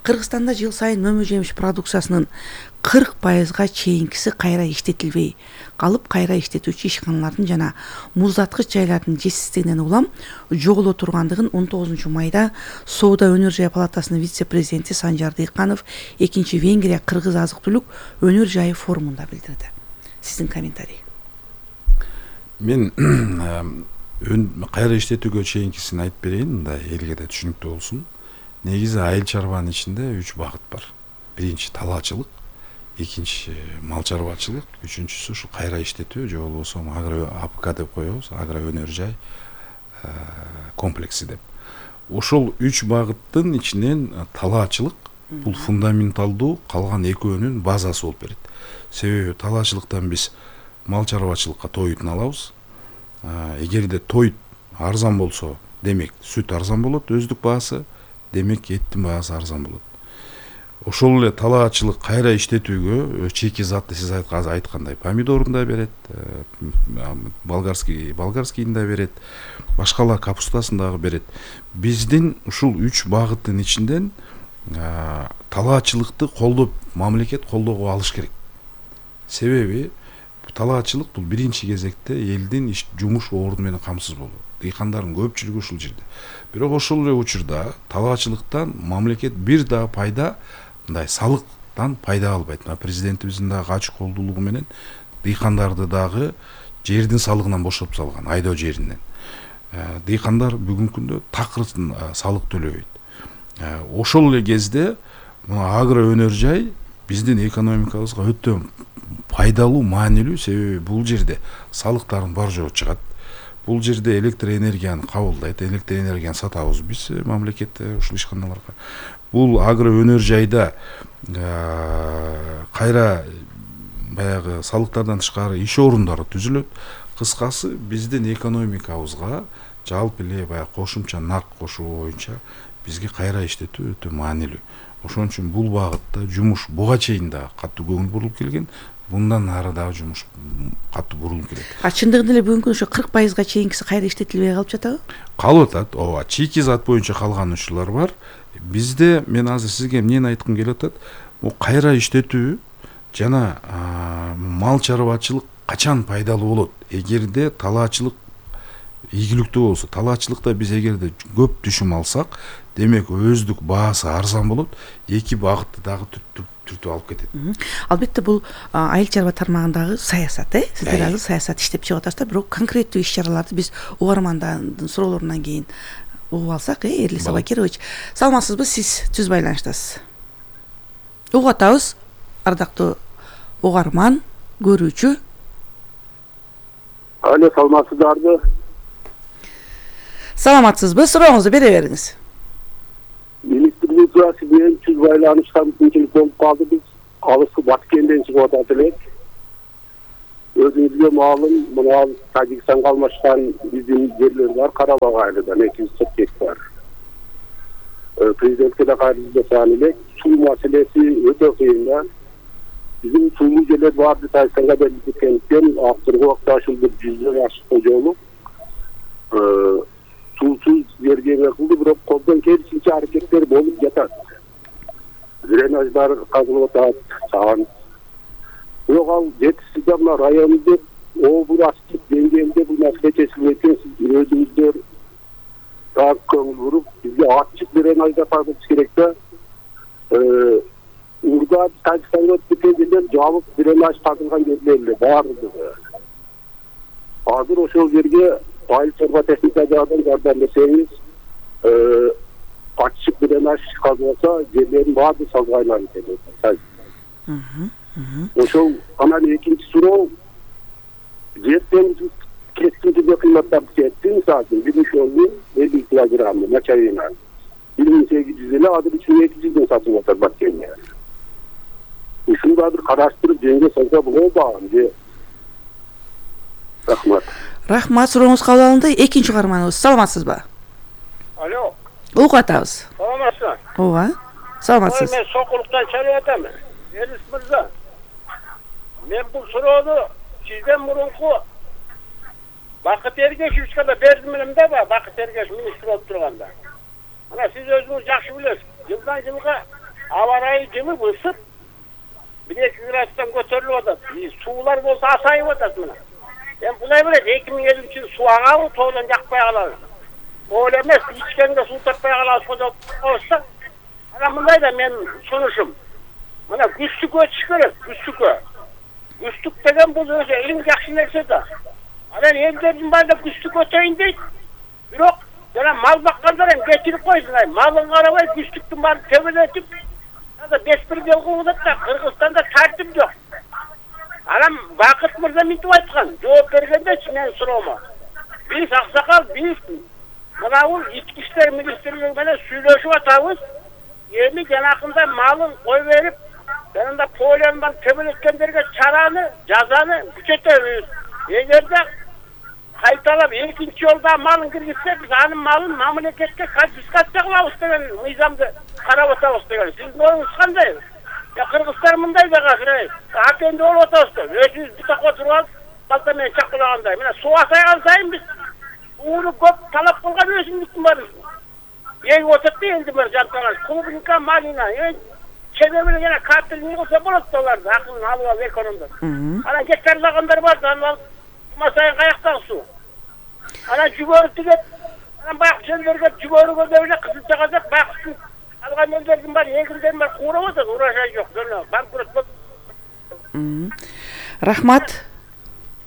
Кыргызстанда жыл сайын мөмө жемиш продукциясынын 40%га чейинкиси кайра иштетилбей калып, кайра иштетүүчү ишканалардын жана муздаткыч жайлардын жетишсиздигинен улам жоголо тургандыгын 19 майда Соода өнөр жай палатасынын вице-президенти Санжар Дыйканов 2-Венгрия кыргыз азык-түлүк өнөр жайы форумунда билдирди. Сиздин комментарий. Мен кайра иштетүүгө чейинкисин айтып берейин, мындай элге да түшүнүктүү болсун. Негизи айыл чарбанын ичинде 3 багыт бар. Биринчи талаачылык, экинчи мал чарбачылык, үчүнчүсү ушу кайра иштетүү же болбосо агро АПК деп коебуз, агро өнөр жай комплекси деп. Ошол 3 багыттын ичинен талаачылык бул фундаменталдуу, калган экөөнүн базасы болуп берет. Себеби талаачылыктан биз мал чарбачылыкка тоютун алабыз. Эгерде тоют арзан болсо, демек сүт арзан болот, өздүк баасы, демек эттин баасы арзан болот. Ошол эле талаачылык кайра иштетүүгө чеки затты сиз айткандай помидорун да берет, болгарскийин да берет, башкалар капустасын дагы берет. Биздин ушул 3 багыттын ичинден талаачылыкты колдоп, мамлекет колдоого алыш керек. Себеби талаачылык бул биринчи кезекте элдин жумуш орду менен камсыз болуу. Дыйкандардын көпчүлүгү ушул жерде. Бирок ошол эле учурда талаачылыктан мамлекет бир да пайда, мындай салыктан пайда албайт. Президентибиздин дагы ачык колдуулугу менен дыйкандарды дагы жердин салыгынан бошотуп салган, айдоо жеринен. Дыйкандар бүгүнкү күндө такыр салык төлөбөйт. Ошол эле кезде агро өнөр жай биздин экономикабызга өтө пайдалуу, маанилүү, себеби бул жерде салыктардын бар жогу чыгат. Бул жерде электр энергияны кабылдайт, электр энергияны сатабыз биз мамлекетте ушул ишканаларга. Бул агро өнөр жайда кайра баягы салыктардан тышкары иш орундары түзүлөт. Кыскасы биздин экономикабызга жалпы эле баягы кошумча нак кошуу боюнча бизге кайра иштетүү өтө маанилүү. Ошон үчүн бул багытта жумуш буга чейин да катуу көңүл бурулуп келген. Bundan nары дагы жумуш катуу бурулуп келет. Чындыгында эле бүгүнкү ошо 40%га чейинкиси кайра иштетилбей калып жатабы? Калып атат. Ооба, чийки зат боюнча калган учурлар бар. Бизде мен азыр сизге эмнени айткым келип атат? Бул кайра иштетүү жана мал чарбачылык качан пайдалуу болот? Эгерде талаачылык ийгиликтүү болсо, талаачылыкта биз эгерде көп түшүм алсак, демек өздүк баасы арзан болот. Эки багытты дагы түртүп алып кетет. Албетте бул айыл чарба тармагындагы саясат, сиздер азыр саясат иштеп чыгып атасыздар, бирок конкреттүү иш-чараларды биз угармандардын суроолорунан кийин угуп алсак, Эрлис Абакирович, саламатсызбы, сиз түз байланыштасыз. Угуп атабыз, ардактуу угарман, көрүүчү. Алло, саламатсыздарбы? Саламатсызбы, сурооңузду бере бериңиз. Министрлик менен түз байланыштан мүмкүнчүлүк болуп калды. Биз алыскы Баткенден чыгып атат элек. Өзүңүзгө маалым, мына Тажикстанга алмашкан биздин жерлер бар, Карабак айылынан 240 гектар. Президентке да кайрылып жасаган элек, суу маселеси өтө кыйын да. Биздин сулуу жерлер барды Тажикстанга берилип кеткендиктен акыркы убакта ушул 100 ашык жолу суусуз жерге кылды, бирок колдон келишинче аракеттер болуп жатат. Дренаждар казылып атат, саган. Бирок ал жетишсиз мына районубузда областтык деңгээлде бул маселе чечилбей экен. Сиз өзүңүздөр так көңүл буруп, бизге ачык дренаждар тартыш керек да. Урда Тажикстанга өтүп кеткен жерлер жабык дренаж тартылган жерлер баардыгы. Азыр ошол жерге айыл чарба техника жагынан жардам берсеңиз, ачык дренаж казылса, жерлердин баары салга айланып кетет. Ошол анан экинчи суроо, жерден кескинче кыйматтарды кетти, мисалы үчүн 50 килограмм мочавина 1800 эле, азыр 3200 сатып атат Баткенде. Ушуну да бир караштырып жеңге салса болобу же? Рахмат. Рахмат, сурооңуз кабыл алынды. Экинчи угарманыбыз, саламатсызбы? Алло. Угуп атабыз. Саламатсызбы? Ооба. Саламатсыз. Мен Сокулуктан чалып атамын. Элис мырза. Мен бул суроону сизден мурунку Бакыт Эргешевичке да бердим элем да, Бакыт Эргешев министр болуп турганда. Мына сиз өзүңүз жакшы билесиз. Жылдан жылга аба ырайы жымып ысып 1-2 градустан көтөрүлүп атат. Суулар болсо асайып атат мына. Эми кудай билет 2050-жылы суу агабы тоодон жакпай калабы. Ол эмес, ичкенге суу таппай калабыз болсо. Ана мындай да мен сунушум. Мына күстүккө өтүш керек, күстүккө. Күстүк деген бул өзү эң жакшы нерсе да. Анан элдердин баары күстүк өтөйүн дейт. Бирок жана мал баккандар эми кечирип койсун, малын карабай күстүктүн баарын төбөлөтүп, беспредел кылып атат да. Кыргызстанда тартип жок. Анан Бакыт мырза мынтип айткан, жооп бергендечи менин суроомо. Биз аксакал, биз мына бул ички иштер министрлиги менен сүйлөшүп атабыз. Эми жанакында малын кой берип, жанында полиондан төбөлөткөндөргө чараны, жазаны күчөтөбүз. Эгерде кайталап экинчи жолда малын киргизсе, биз анын малын мамлекетке конфискация кылабыз деген мыйзамды карап атабыз деген. Сиздин оюңуз кандай? Кыргызстан мындай да азыр, атенде болуп атабыз да. Өзүбүз бутакка туруп алып, балта менен чакылагандай. Мына суу асайган сайын биз сууну көп талап кылган өсүмдүктүн баары эгип атат да энди бир жанталар. Клубника, малина, чеге менен жана картель кылса болот да аларды, акылын алып алып экономдор. Анан гектарлагандар бар, анан масайын каяктагы суу. Анан жүгөрү тигет, анан баягы жерлерге жүгөрүгө деле кызылчага деп баягы алган элдердин баары эгиндердин баары куурап атат, урожай жок, жана банкрот болуп. Рахмат.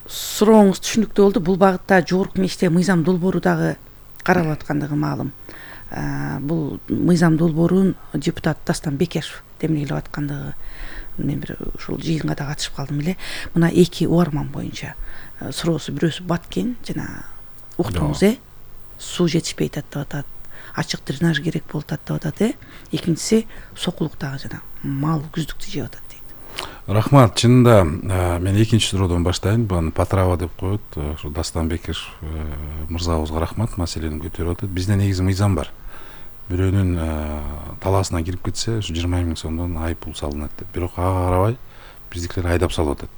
Сурооңуз түшүнүктүү болду. Бул багытта жогорку мечте мыйзам долбоору дагы каралып аткандыгы маалым. Бул мыйзам долбоорун депутат Дастан Бекешев демилгелеп аткандыгы мен бир ушул жыйынга да катышып калдым эле. Мына эки угарман боюнча суроосу бирөөсү Баткен жана уктуңуз суу жетишпей атат деп атат. Ачык дренаж керек болуп атат деп атат. Экинчиси сокулуктагы жана мал күздүктү жеп атат дейт. Рахмат. Чынында мен экинчи суроодон баштайын. Буну Патрава деп коет. Ушу Дастан Бекешев мырзабызга рахмат, маселени көтөрүп атат. Бизде негизи мыйзам бар. Бирөөнүн талаасына кирип кетсе, ушу 20 000 сомдон айып пул салынат деп. Бирок ага карабай биздикилер айдап салып атат.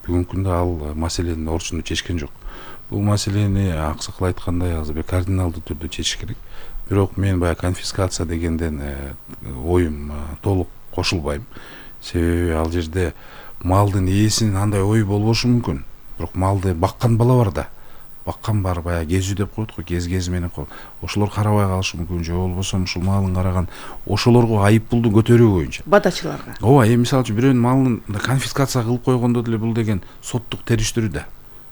Бүгүнкү күндө ал маселенин орчуну чечкен жок. Бул маселени аксакал айткандай азыр кардиналдуу түрдө чечиш керек. Бирок мен баягы конфискация дегенден оюм толук кошулбайм. Себеби ал жерде малдын ээсинин андай ою болбошу мүмкүн. Бирок малды баккан бала бар да. Баккан бар, баягы кезүү деп коет го, кез менен коет. Ошолор карабай калышы мүмкүн, же болбосо ушул малын караган ошолорго айып пулду көтөрүү боюнча. Бадачыларга. Ооба, мисалы үчүн бирөөнүн малын конфискация кылып койгондо деле бул деген соттук териштирүү да.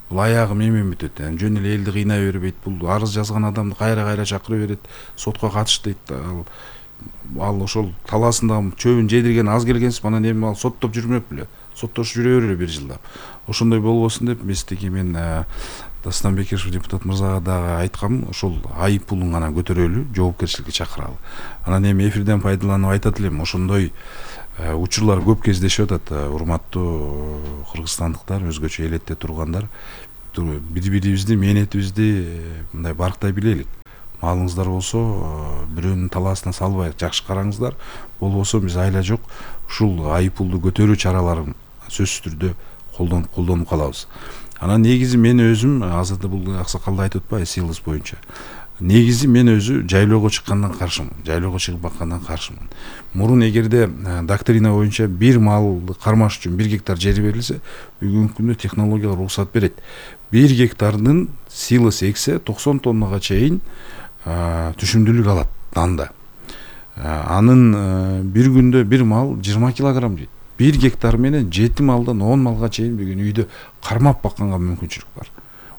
Бул аягы менен бүтөт. Жөн эле элди кыйнай бербейт. Бул арыз жазган адамды кайра чакырып берет, сотко катыш дейт. Ал ошол талаасындагы чөбүн жедирген аз келгенсип, анан эми ал соттоп жүрмөк беле. Соттош жүрө берели 1 жылдап. Ошондой болбосун деп мистики мен Дастан Бекешев депутат мырзага дагы айткам, ошол айып пулун гана көтөрөлү, жоопкерчиликке чакыралы. Анан эми эфирден пайдаланып айтат элем, ошондой учурлар көп кездешип атат. Урматтуу кыргызстандыктар, өзгөчө элетте тургандар, бири-бирибизди, мээнетибизди мындай барктай билелик. Малыңыздар болсо, бирөөнүн талаасына салбай жакшы караңыздар. Болбосо биз айла жок ушул айып пулду көтөрүү чараларын сөзсүз түрдө колдонуп калабыз. Анан негизи мен өзүм азыр да бул аксакалды айтып атпайбы, силыс боюнча. Негизи мен өзү жайлоого чыккандан каршымын. Жайлоого чыгып баккандан каршымын. Мурун эгерде доктрина боюнча бир малды кармаш үчүн 1 гектар жери берилсе, бүгүнкү күндө технологиялар уруксат берет. 1 гектардын силыс эксе 90 тоннага чейин түшүмдүүлүк алат данда. Анын бир күндө бир мал 20 килограмм жейт. 1 гектар менен 7 малдан 10 малга чейин бүгүн үйдө кармап бакканга мүмкүнчүлүк бар.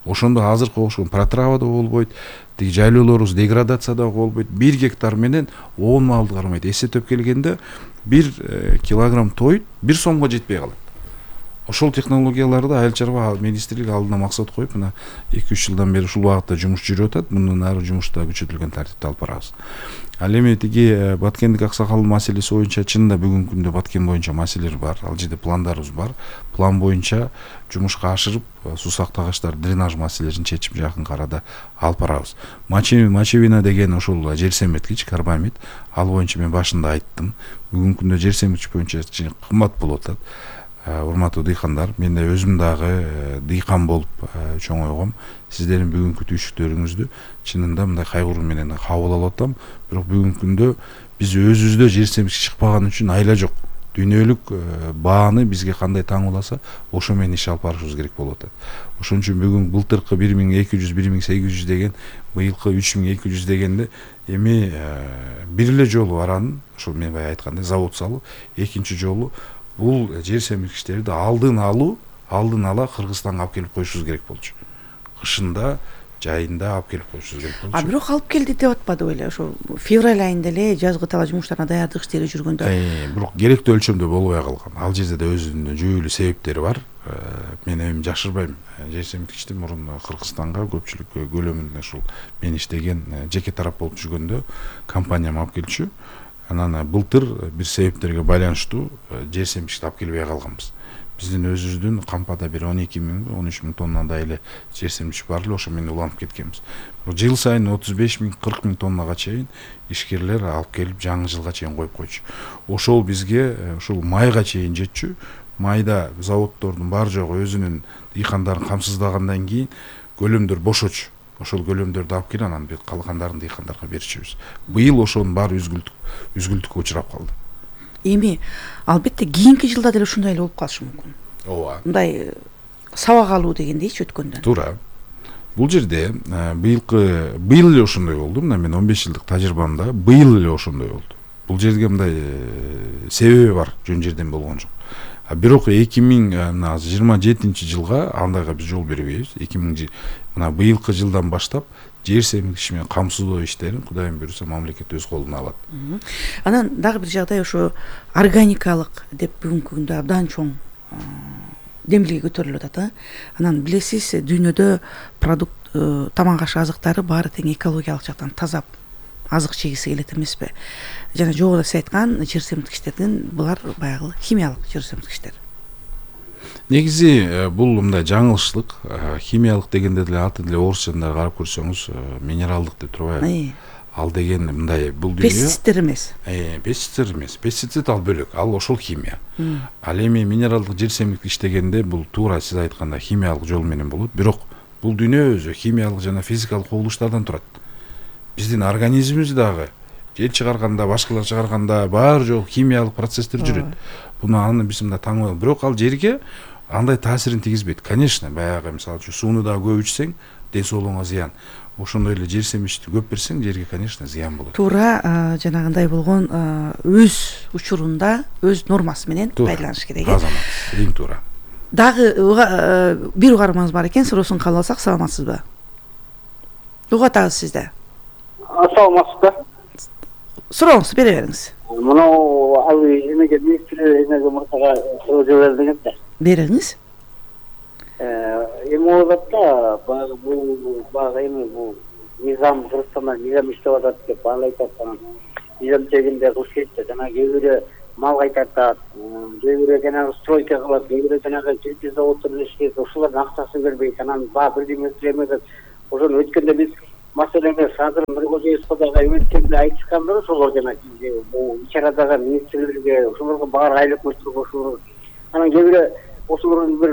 Ошондо азыркы окшогон протрава да болбойт, тиги жайлоолорубуз деградация да болбойт. 1 гектар менен 10 малды кармайт. Эсептеп келгенде 1 килограмм той 1 сомго жетпей калат. Ошол технологияларды Айыл чарба министрлиги алдына максат коюп, мына 2-3 жылдан бери ушул багытта жумуш жүрүп атат. Мундан ары жумушта күчөтүлгөн тартипте алып барабыз. Ал эми тиги Баткендик аксакалдын маселеси боюнча чынында бүгүнкү күндө Баткен боюнча маселелер бар. Ал жерде пландарыбыз бар. План боюнча жумушка ашырып, суу сактагычтар, дренаж маселелерин чечип жакын арада алып барабыз. Мачевина деген ошол жер семирткич, карбамид. Ал боюнча мен башында айттым. Бүгүнкү күндө жер семирткич боюнча кымбат болуп атат. урматтуу дыйкандар, мен да өзүм дагы дыйкан болуп чоңойгом. Сиздердин бүгүнкү түйшүктөрүңүздү чынында мындай кайгыруу менен кабыл алып атам. Бирок бүгүнкү күндө биз өзүбүздө жер семиргич чыкпаган үчүн айла жок. Дүйнөлүк бааны бизге кандай таңууласа, ошо менен иш алып барышыбыз керек болуп атат. Ошон үчүн бүгүн былтыркы 1200, 1800 деген, быйылкы 3200 дегенде эми бир эле жолу аранын, ошол мен бая айткандай завод салуу, экинчи жолу бул жер семиргичтерди алдын ала Кыргызстанга алып келип коюшубуз керек болчу. Кышында, жайында алып келип коюшубуз керек болчу. Бирок алып келди деп атпадыбы эле? Ошо февраль айында эле жазгы талаа жумуштарына даярдык иштери жүргөндө. Бирок керектүү өлчөмдө болбой калган. Ал жерде да өзүнүн жүйөлүү себептери бар. Мен эми жашырбайм. Жер семиргичти мурун Кыргызстанга көпчүлүк көлөмүндө ушул мен иштеген жеке тарап болуп жүргөндө компаниям алып келчү. Анан былтыр бир себептерге байланыштуу жер семиргичти алып келбей калганбыз. Биздин өзүбүздүн кампада бир 12 000, 13 000 тоннадай эле жер семиргич бар эле, ошо менен уланып кеткенбиз. Жыл сайын 35 000, 40 000 тоннага чейин ишкерлер алып келип жаңы жылга чейин коюп койчу. Ошол бизге ушул майга чейин жетчү. Майда заводдордун бар жогу өзүнүн дыйкандарын камсыздагандан кийин көлөмдөр бошочу. Ошол көлөмдөрдү алып келип анан калгандарын дыйкандарга берчүбүз. Быйыл ошонун баары үзгүлтүккө учурап калды. Эми албетте кийинки жылда деле ушундай эле болуп калышы мүмкүн. Ооба. Мындай сабак алуу дегендейчи өткөндөн. Туура. Бул жерде быйыл эле ошондой болду. Мына мен 15 жылдык тажрыйбамда быйыл эле ошондой болду. Бул жерге мындай себеби бар, жөн жерден болгон жок. Бирок 2027 жылга андайга биз жол бербейбиз. Мына быйылкы жылдан баштап жер семиргич менен камсыздоо иштерин Кудайым буйруса мамлекет өз колуна алат. Анан дагы бир жагдай ошо органикалык деп бүгүнкү күндө абдан чоң демилге көтөрүлүп атат. Анан билесиз, дүйнөдө продукт тамак аш азыктары баары тең экологиялык жактан таза азык жегиси келет эмеспи? Жана жогоруда сиз айткан жер семирткичтердин булар баягы химиялык жер семирткичтер. Негизи бул мындай жаңылыштык. Химиялык дегенде деле аты деле орусчада карап көрсөңүз минералдык деп турбайбы? Ал деген мындай бул дүйнө пестицидтер эмес. Пестицидтер эмес. Пестицид ал бөлөк, ал ошол химия. Ал эми минералдык жер семирткич дегенде бул туура сиз айткандай химиялык жол менен болот. Бирок бул дүйнө өзү химиялык жана физикалык кубулуштардан турат. Биздин организмибиз дагы жер чыгарганда, башкалар чыгарганда баары жок химиялык процесстер жүрөт. Аны биз мында таңбай, бирок ал жерге андай таасирин тийгизбейт. Конечно, баягы мисалы үчүн сууну да көп ичсең, ден соолугуңа зыян. Ошондой эле жер семиричти көп берсең, жерге, конечно, зыян болот. Туура, жанагындай болгон өз учурунда, өз нормасы менен пайдаланыш керек. Азамат, эң туура. Дагы бир угармаңыз бар экен, сурооосун кабыл алсак, саламатсызбы? Угатабыз сизде. Саламатсызбы? Сурооңузду бере бериңиз. Мынау эмеге министр эмеге муртага суроо жибердиңиз да. Бериңиз. Эми ойлоп баягы эми бул низам Кыргызстанда низам иштеп атат деп баалайт атат. Низам тегинде кылыш керек да. Жана кээ бирөө мал кайтартат, кээ бирөө жанагы стройка кылат, кээ бирөө жанагы чиркей заводдордун иши, ошолордун акчасын бербейт. Анан бирдеме эмеге ошону өткөндө биз маселеге Садыр Нуркожоевго дагы эметкенде айтышканбыз, ошолор жанагы бул ичарадагы министрлерге, ошолорго баары айлык өчүрүп ошолор. Анан кээ бирөө ошолордун бир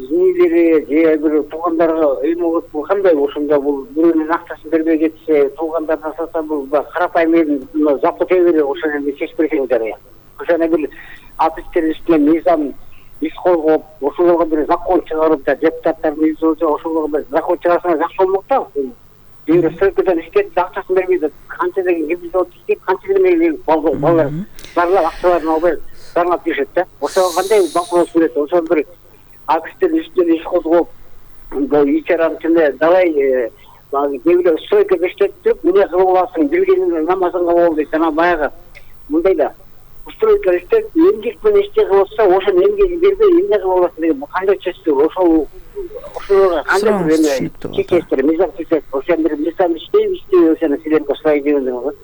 инилери же бир туугандарга эми кандай ошондо бул бирөөнүн акчасын бербей кетсе, туугандарына сатса бул карапайым элдин запы тебери ошону чечип берсеңиздер. Ошону бир атыштер үстүнө мыйзам иш койгоп, ошолорго бир закон чыгарып да депутаттардын изолчу ошолорго бир закон чыгарсаңар жакшы болмок да. Бир стройкадан иштеп, акчасын бербейт. Канча деген ким завод иштейт, канча деген балдар барлар акчаларын албай сарнап жүрөт да. Ошого кандай вопрос берет? Ошол бир атыштер үстүнө иш козгоп, бул ичаранын ичинде далай кээ бирөө стройкада иштеп туруп, эмне кылып аласың, билгениңди намазыңга бол дейт. Анан баягы мындай да стройка иштеп, эмгек менен ишти кылса, ошону эмгеги бербей, эмне кылып аласың деген кандай чечтүү? Ошолорго кандай бир эме чечесиздер, мыйзам чечесиздер. Ошону бир мыйзам иштейби, ошону силерге сурай дегендиңиз.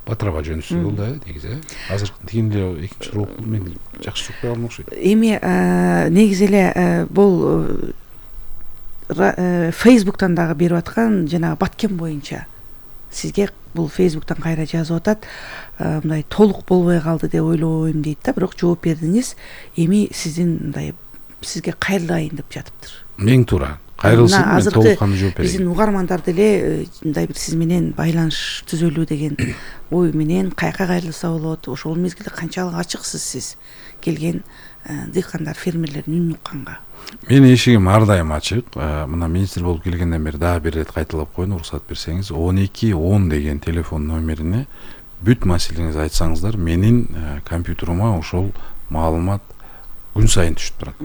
Батыраба жөнүсү болду негизи. Азыр тигин эле экинчи суроо мен жакшы чукпай калдым окшойт. Эми негизи эле бул Facebook'тан дагы берип аткан жанагы Баткен боюнча сизге бул Facebook'тан кайра жазып атат, мындай толук болбой калды деп ойлойм дейт да, бирок жооп бердиңиз. Эми сиздин мындай сизге кайрылайын деп жатыптыр. Эң туура. Кайрылсын, мен толук кандуу жооп берейин. Биздин угармандар деле мындай бир сиз менен байланыш түзөлүү деген ой менен каяка кайрылса болот. Ошол мезгилде канчалык ачыксыз сиз келген дыйкандар, фермерлердин үнүн укканга? Менин эшигим ар дайым ачык. Мына министр болуп келгенден бери дагы бир ирет кайталап коеюн, уруксат берсеңиз. 1210 деген телефон номерине бүт маселеңизди айтсаңыздар, менин компьютерима ошол маалымат күн сайын түшүп турат.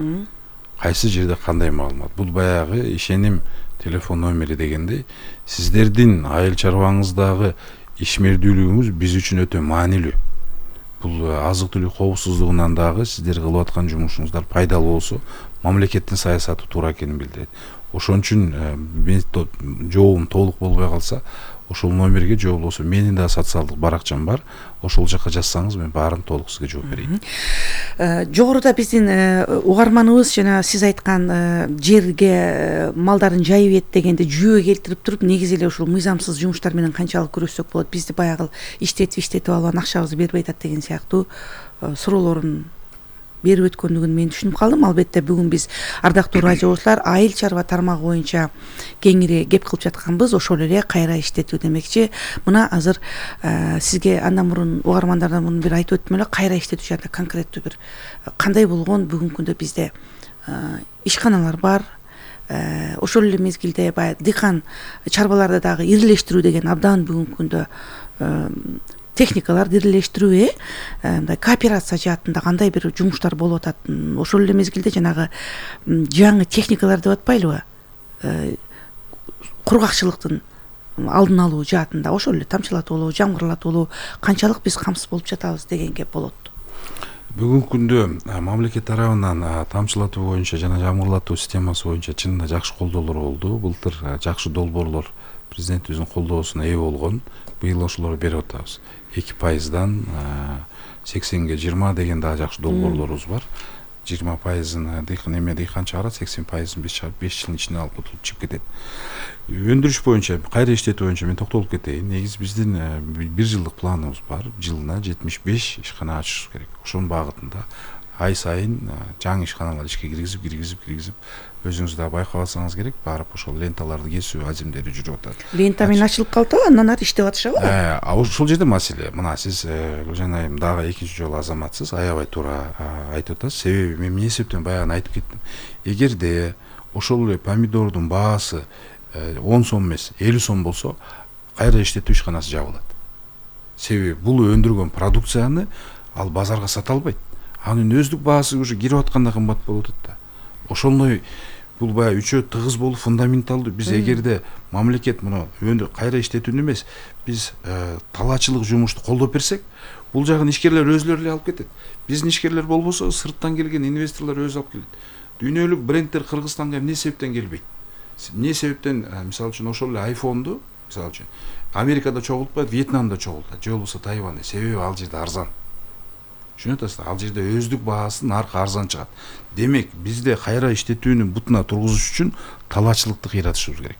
Кайсы жерде кандай маалымат? Бул баягы ишеним телефон номери дегенде, сиздердин айыл чарбаңыздагы ишмердүүлүгүңүз биз үчүн өтө маанилүү. Бул азык-түлүк коопсуздугунан дагы сиздер кылып аткан жумушуңуздар пайдалуу болсо, мамлекеттин саясаты туура экенин билдирет. Ошон үчүн жообум толук болбой калса, ошол номерге же болбосо менин да социалдык баракчам бар. Ошол жака жазсаңыз, мен баарын толук сизге жооп берейин. Жогоруда биздин угарманыбыз жана сиз айткан жерге малдарын жайып эт дегенде жүйө келтирип туруп, негизи эле ушул мыйзамсыз жумуштар менен канчалык күрөшсөк болот, бизди баягы иштетип алган акчабызды бербей атат деген сыяктуу суроолорун берип өткөндүгүн мен түшүнүп калдым. Албетте бүгүн биз ардактуу радиочулар айыл чарба тармагы боюнча кеңири кеп кылып жатканбыз. Ошол эле кайра иштетүү демекчи. Мына азыр сизге андан мурун угармандардан муну бир айтып өттүм эле, кайра иштетүү жөнүндө конкреттүү бир кандай болгон бүгүнкү күндө бизде ишканалар бар. Ошол эле мезгилде баягы дыйкан чарбаларды дагы ирилештирүү деген абдан бүгүнкү күндө техникаларды ирилештирүү, мындай кооперация жаатында кандай бир жумуштар болуп атат. Ошол эле мезгилде жанагы жаңы техникалар деп атпайлыбы? Кургакчылыктын алдын алуу жаатында, ошол эле тамчылатуулуу, жамгырлатуулуу канчалык биз камсыз болуп жатабыз дегенге болот. Бүгүнкү күндө мамлекет тарабынан тамчылатуу боюнча жана жамгырлатуу системасы боюнча чынында жакшы колдоолор болду. Былтыр жакшы долбоорлор президентибиздин колдоосуна ээ болгон. Быйыл ошолорду берип атабыз. 2%дан 80-ге 20 деген дагы жакшы долбоорлорубуз бар. 20%-ын дыйкан чыгарат, 80%-ын биз чыгарып 5 жылдын ичинде алып чыгып кетет. Өндүрүш боюнча, кайра иштетүү боюнча мен токтолуп кетейин. Негизи биздин 1 жылдык планыбыз бар. Жылына 75 ишкана ачышыбыз керек. Ошонун багытында ай сайын жаңы ишканалар ишке киргизип өзүңүз да байкап алсаңыз керек, барып ошол ленталарды кесүү азимдери жүрүп атат. Лента менен ачылып калды, андан ары иштеп атышабы? Ошол жерде маселе. Мына сиз Гүлжан айым дагы экинчи жолу азаматсыз, аябай туура айтып атасыз. Себеби мен эмне себептен баягы айтып кеттим. Эгерде ошол эле помидордун баасы 10 сом эмес, 50 сом болсо, кайра иштетүү ишканасы жабылат. Себеби бул өндүргөн продукцияны ал базарга сата албайт. Анын өздүк баасы уже кирип атканда кымбат болуп атат да. Ошондой бул баягы үчөө тыгыз болуп фундаменталдуу. Биз эгерде мамлекет муну кайра иштетүүнү эмес, биз талаачылык жумушту колдоп берсек, бул жагын ишкерлер өзлөрү эле алып кетет. Биздин ишкерлер болбосо, сырттан келген инвесторлор өзү алып келет. Дүйнөлүк брендтер Кыргызстанга эмне себептен келбейт? Эмне себептен, мисалы үчүн ошол эле айфонду, мисалы үчүн Америкада чогултпайт, Вьетнамда чогултат, же болбосо Тайванда, себеби ал жерде арзан. Түшүнүп атасыздар, ал жерде өздүк баасы наркы арзан чыгат. Демек, бизде кайра иштетүүнүн бутуна тургузуш үчүн талаачылыкты кыйратышыбыз керек.